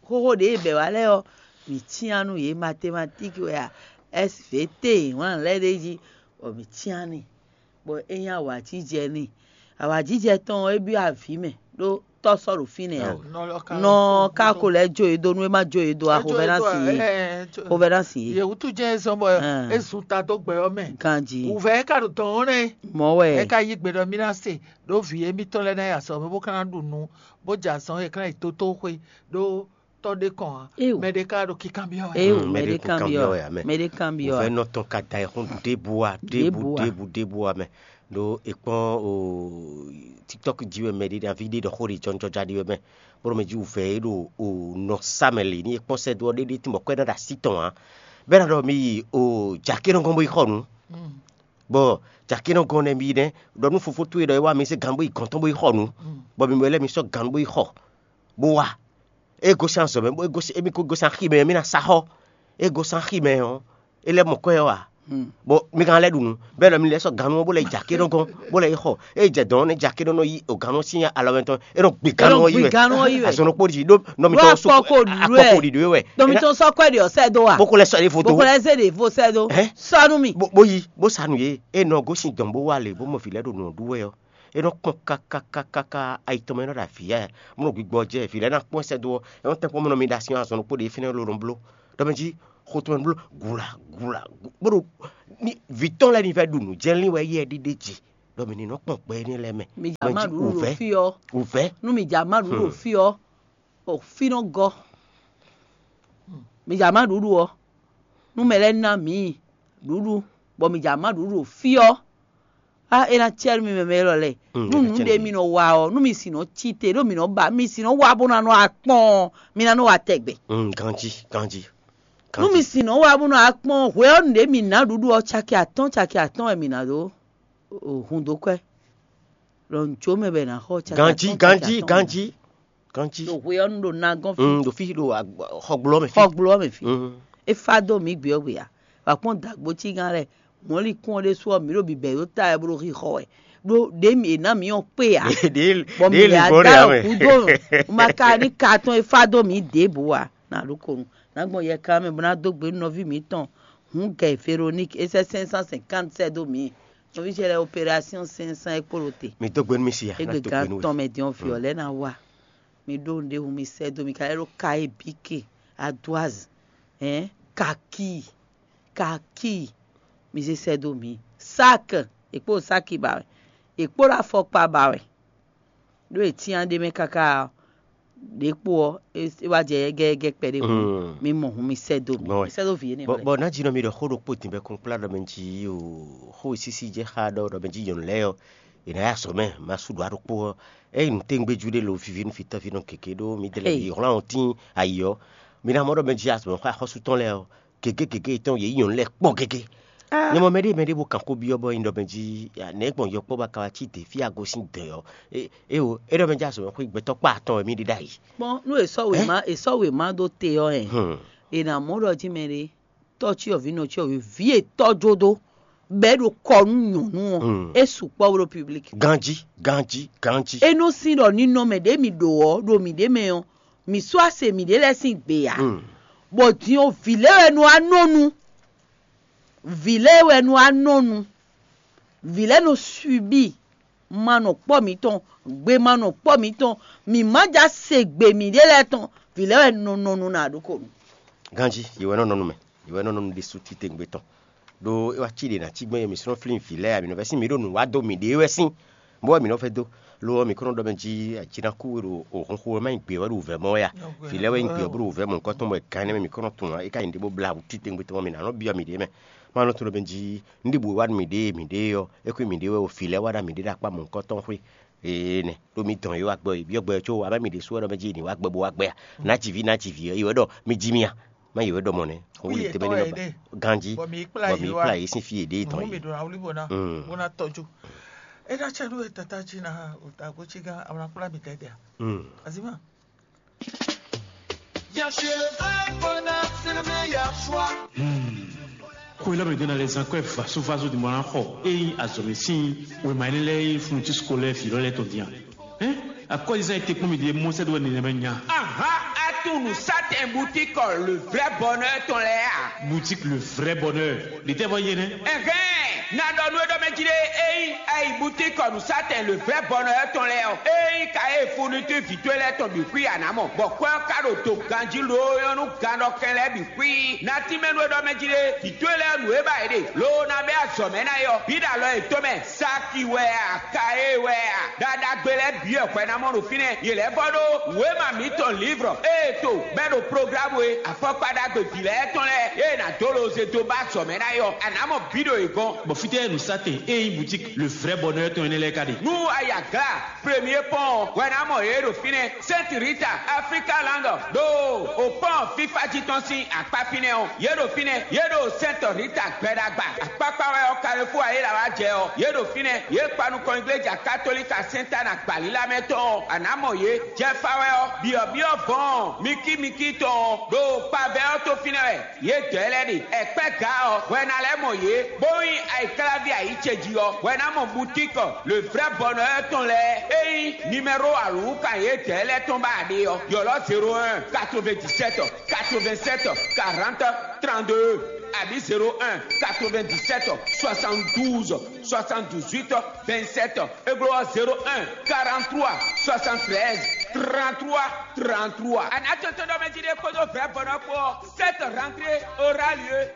xóxó ɖě e bɛ̌ wá lɛ́ɛ ɔ́, mǐ cyán nú yě, mathématique wɛ a, S V T, wǎn lɛ́ɛ ɖ'é jí, bɔ mǐ cyán n'i, bɔ é nyí awǎjijɛ n'i. Awǎjijɛ tɔn ɔ́, é byɔ́ avǐ mɛ, ɖó tɔ́ sɔ́ ɖo fínɛ́ ǎ. Nɔ ɔ́ ka Nɔ ɔ́ ka ko lɛ́ jó yě dó nú é má jó yě dó ǎ, xovɛ́nánsi yě. Xovɛ́nánsi yě. Yě wútu jɛ́n é zɔ́n bɔ é zun ta dó gbɛ ɔ́ mɛ. Ganjí. Wǔvɛ́ é ka ɖo dɔn ɔ́ nɛ́. Mɔ̌ wɛ. É ka yí gbe ɖɔ mì ná se, ɖó vǐ émítɔn lɛ́ɛ ná yi azɔ̌ mɛ bó ka ná ɖu nǔ, bó jɛ azɔ̌ e é ka ná yi tótóxwé, ɖó tɔ́ ɖé kɔn ǎ. Éo. Mɛ ɖé ka ɖo kíkanbyɔ́ wɛ. Éo, Mm, mɛ mɛ ɖé ɖé ko kanbyɔ́ kanbyɔ́ wɛ ǎ. Wɛ amɛ. Mɛ ɖé kanbyɔ́ Wǔvɛ́ wɛ. Nɔ tɔn ka da ayǐxɔ́n ɖěbǔ a, ɖěbǔ, Ɖěbǔ a. Ɖěbǔ, ɖěbǔ amɛ. Ɖó è kpɔ́n o TikTok jí wɛ mɛ ɖé, nyaví ɖé ɖɔ xó ɖé jɔnjɔja ɖé wɛ mɛ. Bó ɖo mɛ jí wǔvɛ́ é ɖo o nɔ sá mɛ lě ní è kpɔ́n sɛ́ dó ɔ́ ɖéɖé tín bɔ kwɛ́ ná ɖo así tɔn ǎ. Bɛ́ ná ɖɔ mi yi o jǎké nɔ gɔ́n bó yi xɔ nǔ. Mm. Bɔ jǎké nɔ gɔ́n nɛ mi yi nɛ́, ɖɔ nú fofó towe ɖɔ é wá mi zé gǎn bó yi gɔ̌n tɔn bó yi xɔ nǔ. Mm. Bɔ mi mɛ lɛ́ɛ mi sɔ́ gǎn bó yi xɔ, bó wá. É gosín azɔ̌ mɛ, bó é gosín émí ko gosín axi mɛ, mí ná sa xɔ. É gosín axi mɛ ɔ́, é lɛ́ mɔ kwɛ́ ɔ́ ǎ. Bɔ mi ka lɛ́ ɖu nǔ, bɔ é ɖɔ mi lɛ́ sɔ́ gannú ɔ́ bó lɛ́ yi jǎ ké nɔ gɔ́n, bó lɛ́ yi xɔ. É yi jɛ dɔ̌n ɔ́, nɛ́ jǎ ké nɔ nɔ yi o gannú ɔ́ sín alɔ mɛ tɔn, é nɔ gbi gannú ɔ́ yi wɛ. Azɔn nɔ kpo ɖi ɖó nɔ mi tɔn akpɔ ko ɖu wɛ. Akpɔ ko ɖi ɖó wɛ. Dɔ mi tɔn sɔ́ kwɛ ɖi ɔ́ sɛ dó wa. Bó ko lɛ́ sɔ́ ɖěvo dó. Bó ko lɛ́ zé ɖěvo sɛ dó. Sɔ́ nú mi. Bó yi, bó sa nǔ yé. É nɔ gosín dɔ̌n bó wá lě, bó mɔ vǐ lɛ́ɛ ɖo nǔ ɔ́ ɖu wɛ ɔ́. É nɔ kpɔn kákákákáká ayi tɔn mɛ é nɔ ɖo avǐ yá, mɔ gbigbɔ jɛ vǐ lɛ́ɛ ná kpɔ́n sɛ́ dó ɔ́, é nɔ tɛ́nkpɔ́n mɔ nɔ mi ɖo asin azɔn ɖokpó ɖě fínɛ́ ló nɔ bló. Ɖɔ mɛ jí xo tɔn mɛ bló gula gula bó ɖo vǐ tɔn lɛ́ɛ ní vɛ́ ɖu nǔ jɛ́n lín wɛ yɛ ɖíɖé ji. Ɖɔ mɛ ní nɔ kpɔn gbɛ énɛ́ lɛ́ɛ mɛ. Mi ja má ɖuɖu ɖo fí ɔ́. Wǔvɛ́. Nú mi ja má ɖuɖu ɖo fí ɔ́, o fí nɔ gɔ́. Mi ja má ɖuɖu ɔ́, nú mɛ lɛ́ɛ ná mǐ ɖuɖu, bɔ mi ja má ɖuɖu ɖo fí ɔ́, á é ná cɛ́ nú mi mɛ mɛ élɔ́ lɛ́ɛ. Nú nǔ ɖé mi nɔ wa ɔ́, nú mi sin nɔ cí te, ɖó mi nɔ ba mi sin nɔ wa bó ná nɔ akpɔ́n ɔ́, mi ná nɔ wa tɛgbɛ. Ganjí, ganjí. Nú mi sin nɔ wa bó nɔ akpɔ́n hwɛ ɔ́, nǔɖé mi ná ɖuɖu ɔ́, caki atɔ́ɔ́n caki atɔ́ɔ́n wɛ mi ná ɖó hun dó kwɛ́. Ɖɔ nǔ có mɛ bɔ è nǎ xɔ caki Ganjí, atɔ́ɔ́n caki ganjí, atɔ́ɔ́n. Ganjí, ganjí. Ɖo hwe ɔ́ nu ɖo nagɔ́n fí. Mm, ɖo fí ɖo xɔgblo ɔ́ mɛ fí. Xɔgblo ɔ́ mɛ fí. Mm. É fá dó mǐ gbé ɔ́ gbe ǎ. Wǎ kpɔ́n dǎgbó cí gán lɛ́ɛ, mɔ̌likún ɔ́ ɖésú ɔ́, mǐ ɖo bǐbɛ̌ ɖó ta wɛ bó ɖo xixɔ wɛ. Ɖó ɖě mǐ è nǎ mǐ ɔ́ kpé ǎ. Bɔ mǐ ɖě lǐ ɖě lǐ bɔ́ ɖe ǎ mɛ. Kúdó ma ka ní ka tɔn e fá dó mǐ ɖěbǔ ǎ. Ná ɖó konu, ná gbɔn yɛkan mɛ bó ná dó gbe nú nɔví mǐtɔn. Hǔn gɛ Veroník é sɛ́ cinq cent cinquante sɛ́ dó mǐ. Nɔví ce lɛ́ɛ opérasyɔ́n cinq cent é kpo ɖo te. Mi dó gbe nú mi si a, ná Égbé dó gbe gán nú we. Tɔn mɛ din ɔ́, vǐ ɔ́ lɛ́ɛ ná wa. Mi ɖó nǔɖé hun mi sɛ́ dó mi ka lɛ́ ɖó ka e bǐ ke, adwaz, hɛn, kaki, kaki, mi zé sɛ́ dó mi. Sak, è kpó ɖo sáki ba wɛ, è kpó ɖo afɔkpa ba wɛ. Ɖó è cyán ɖ'é mɛ káká ɔ́, ɖě kpo ɔ́, é wá jɛ yɛ́gɛ́yɛ́gɛ́ kpɛɖé hǔn, mi mɔ hǔn mi sɛ́ dó mi. Bɔ, mi sɛ́ dó vǐ énɛ́ bɔ, lɛ́ɛ. Bɔ ná jí nɔ mi ɖɔ xó ɖokpó din bɔ kplá ɖɔ mɛ jí o, xó e sísí jɛ xá ɖɔ ɖɔ mɛ jí nyɔ̌nu lɛ́ɛ ɔ́, è nǎ yá azɔ̌ mɛ, ma sú ɖǒ aɖokpó ɔ́. Ényí nǔtɛ́ngbéjú ɖé lo viví nú fitɔ́ví nɔ gěgé ɖó mi délé yi hlán ɔ́ tín ayi ɔ́, mi ná mɔ ɖɔ mɛ jí azɔ̌ mɛ xó axɔ́sú tɔn lɛ́ɛ ɔ́, gěgé gěgé yětɔn yě nyí nyɔ̌nu lɛ́ɛ kpɔ́n gégé. Nyɛ mɔ mɛɖé mɛɖé bó kan xó byɔ́ bɔ nyi ɖɔ mɛ jí nɛ̌ gbɔn yɔkpɔ́ ba ka wá cí dě fí a gosín dɛ̌ ɔ́? Éwo, é ɖɔ mɛ jí azɔ̌ mɛ xwé gbɛtɔ́ kpá atɔn wɛ mí ɖe ɖ'ayǐ. Kpɔ́n nú è sɔ́ wěma è sɔ́ wěma dó te ɔ́ hɛn, è nǎ mɔ ɖɔ jí mɛɖé tɔ́ cyɔ́vǐ nɔ cyɔ́vǐ vǐ e tɔ́ jó dó, bɔ é ɖo kɔ nú nyɔ̌nu ɔ́, é sukpɔ́ bó ɖo piblik. Ganjí, ganjí, ganjí. É nɔ sín ɖɔ ninɔmɛ ɖě mi ɖo ɔ́, ɖo mǐɖée mɛ ɔ́, mǐ sú ase mǐɖée lɛ́ɛ sín gbe ǎ. Bɔ din ɔ́, vǐ lɛ́ɛ wɛ nɔ wá nɔ nu. Vǐ lɛ́ɛ wɛ nɔ wá nɔ nu. Vǐ lɛ́ɛ nɔ swibí, ma nɔ kpɔ́ mǐtɔn, gbe ma nɔ kpɔ́ mǐtɔn, mǐ má ja se gbe mǐɖée lɛ́ɛ tɔn, vǐ lɛ́ɛ wɛ nɔ nɔ nu ná ɖokonu. Ganjí, yě wɛ nɔ nɔ nu mɛ, yě wɛ nɔ nɔ nu ɖésú titewungbe tɔn. Ɖó é wá cí ɖě ná cí gbɔn é mǐ sɔ́ nɔ flín vǐ lɛ́ɛ ǎ, mǐ nɔ vɛ́ sín mǐ ɖo nǔ wá dó mǐɖée wɛ sín. Bó wɛ mǐ nɔ vɛ́ dó, lo ɔ́, mǐ kɔn nɔ ɖɔ mɛ jí ajinaku e ɖo òhunxo wɛ má nyí gbě wɛ ɖo wǔvɛ́ mɔ wɛ a? Vǐ lɛ́ɛ wɛ nyí gbě ɔ́ bó ɖo wǔvɛ́ mɔ̌hunkɔtɔn bɔ è gán énɛ́ mɛ mǐ kɔn nɔ tunwun ǎ, é ka nyí ɖěbǔ blá wǔ titewungbe tɔn mɔ mǐ ná nɔ byɔ́ mǐɖée mɛ. Má nɔ tunwun ɖɔ mɛ jí un ɖi bǔ e wá ɖu mǐɖée mǐɖée ɔ́, é kú mǐɖée wɛ o, vǐ lɛ́ɛ wá ɖa mǐɖée ɖo akpá mɔ̌hunkɔtɔn xwé. Ee nɛ, ɖó mi dɔn yě wá gbɔ, yě byɔ́ gbɛ có wá mɛ mǐ ɖésú wɛ ɖɔ mɛ jí è nǐ wá gbɛ bó wá gbɛ a? Nǎ ji vǐ, nǎ ji vǐ ɔ́, yě wɛ ɖɔ mi jí mì a? Má yě wɛ ɖɔ mɔ̌ nɛ́. Xó wú yětɔn wɛ ɖé. Ganjí, bɔ mi kplá yě sín fí yě ɖe tɔn yìí. Bó ná tɔjú. É ná cɛ nú ɛ tata jí na o ta gó cí gán, àwọn akplá mi tɛtɛ a? Azima. Bien sûr, le vrai bonheur, c'est le meilleur choix. Xwé lɛ́ mɛ ɖó ná lɛ́ zán kwɛ́ vasovaso ɖi mɔ ná xɔ ényí azɔ̌mɛ sín wěma énɛ́ lɛ́ɛ e funu tí sukɔ lɛ́ɛ vǐ lɔ lɛ́ɛ tɔn dín a? Hɛn, akɔ́zizán e te kpɔ́n mi ɖe mɔ sɛ́ dó wɛ nɛnɛmɛ nya. Aha, atún nǔsátɛn boutique le vrai bonheur tɔn lɛ́ɛ a? Boutique le vrai bonheur. Ɖětɛ́ vɔ yé nɛ́? Ɛhɛn, na ɖɔ nú é ɖɔ mɛ jí ɖé, ényí ayi boutique nǔsátɛn le vrai bonheur tɔn lɛ́ɛ ɔ́, ényí ka e fourniture vǐ towe lɛ́ɛ tɔn bǐ xwí a nǎ mɔ, bɔ kwɛ́ ɔ́ ka ɖo do ganjí loo nyɔ́ nú gannɔkɛn lɛ́ɛ bǐ xwí. Na tínmɛ nú é ɖɔ mɛ jí ɖé, vǐ towe lɛ́ɛ nǔ e ba yě ɖe, loo ná bɛ́ azɔ̌ mɛ ná é ɔ́, bǐ ɖo alɔ yětɔn mɛ. Saki wɛ a, kaye wɛ a, ɖaɖagbe lɛ́ɛ bǐ wɛ hwɛ ná mɔ ɖo fínɛ́. Yě lɛ́ vɔ ɖó wěma mǐtɔn lǐvrɔ ée to bɛ́ ɖo programu e afɔkpa ɖagbe vǐ lɛ́ɛ tɔn lɛ́ɛ ée nǎ dó loze dó ba azɔ̌ mɛ ná é ɔ́, a nǎ mɔ bǐ ɖo yě gɔ́n. Bɔ fítɛ́ nǔsátɛn e nyí boutique le vrai bonheur tɔn énɛ́ lɛ́ɛ ka ɖe? Nú a yi Aglá, Premier Pont wɛ ná mɔ yě ɖo fínɛ́. Sainte Rita, Africa Land, ɖo o pɔ́n fífá jí tɔn sín akpá fínɛ́ ɔ́, yě ɖo fínɛ́, yě ɖo Sainte Rita gbɛɖagba. Akpákpá wɛ ɔ́, Carrefour ayéla wá jɛ ɔ́, yě ɖo fínɛ́, yě kpa nukɔn igleja katolika Sainte Anne gbǎlílá mɛ tɔn ɔ́, a nǎ mɔ yě. Jɛfa wɛ ɔ́, byɔ̌byɔ́ vɔ̌ɔn mikímikí tɔn ɔ́, ɖo kpavɛ ɔ́ tó fínɛ́ wɛ. Yě dɔ̌ lɛ́ɛ ɖe. Ɛkpɛ́ gǎ ɔ́, hwɛ ná lɛ́ mɔ yě, bó nyí ayǐkláví ayǐ ce jí ɔ́, hwɛ ná mɔ butíkɔ le vrɛ́ bɔnɔ ɔ́ tɔn lɛ́ɛ. Ényí nimɛ́ro alǔwúkan yě dɔ̌ lɛ́ɛ tɔn ba a ɖe ɔ́, ylɔ́ zéro un, quatre-vingt-dix-sept, quatre-vingt-sept, quarante, trente-deux. Abǐ zéro un quatre-vingt-dix-sept soixante-douze soixante-dix-huit vingt-sept, é glɔ́ ɔ́ zéro un quarante-trois soixante-treize trente-trois trente-trois. Anatotɔnɔmɛjide kpódó vɛ̌bɔnɔ kpó ɔ́, cette rentrée aura lieu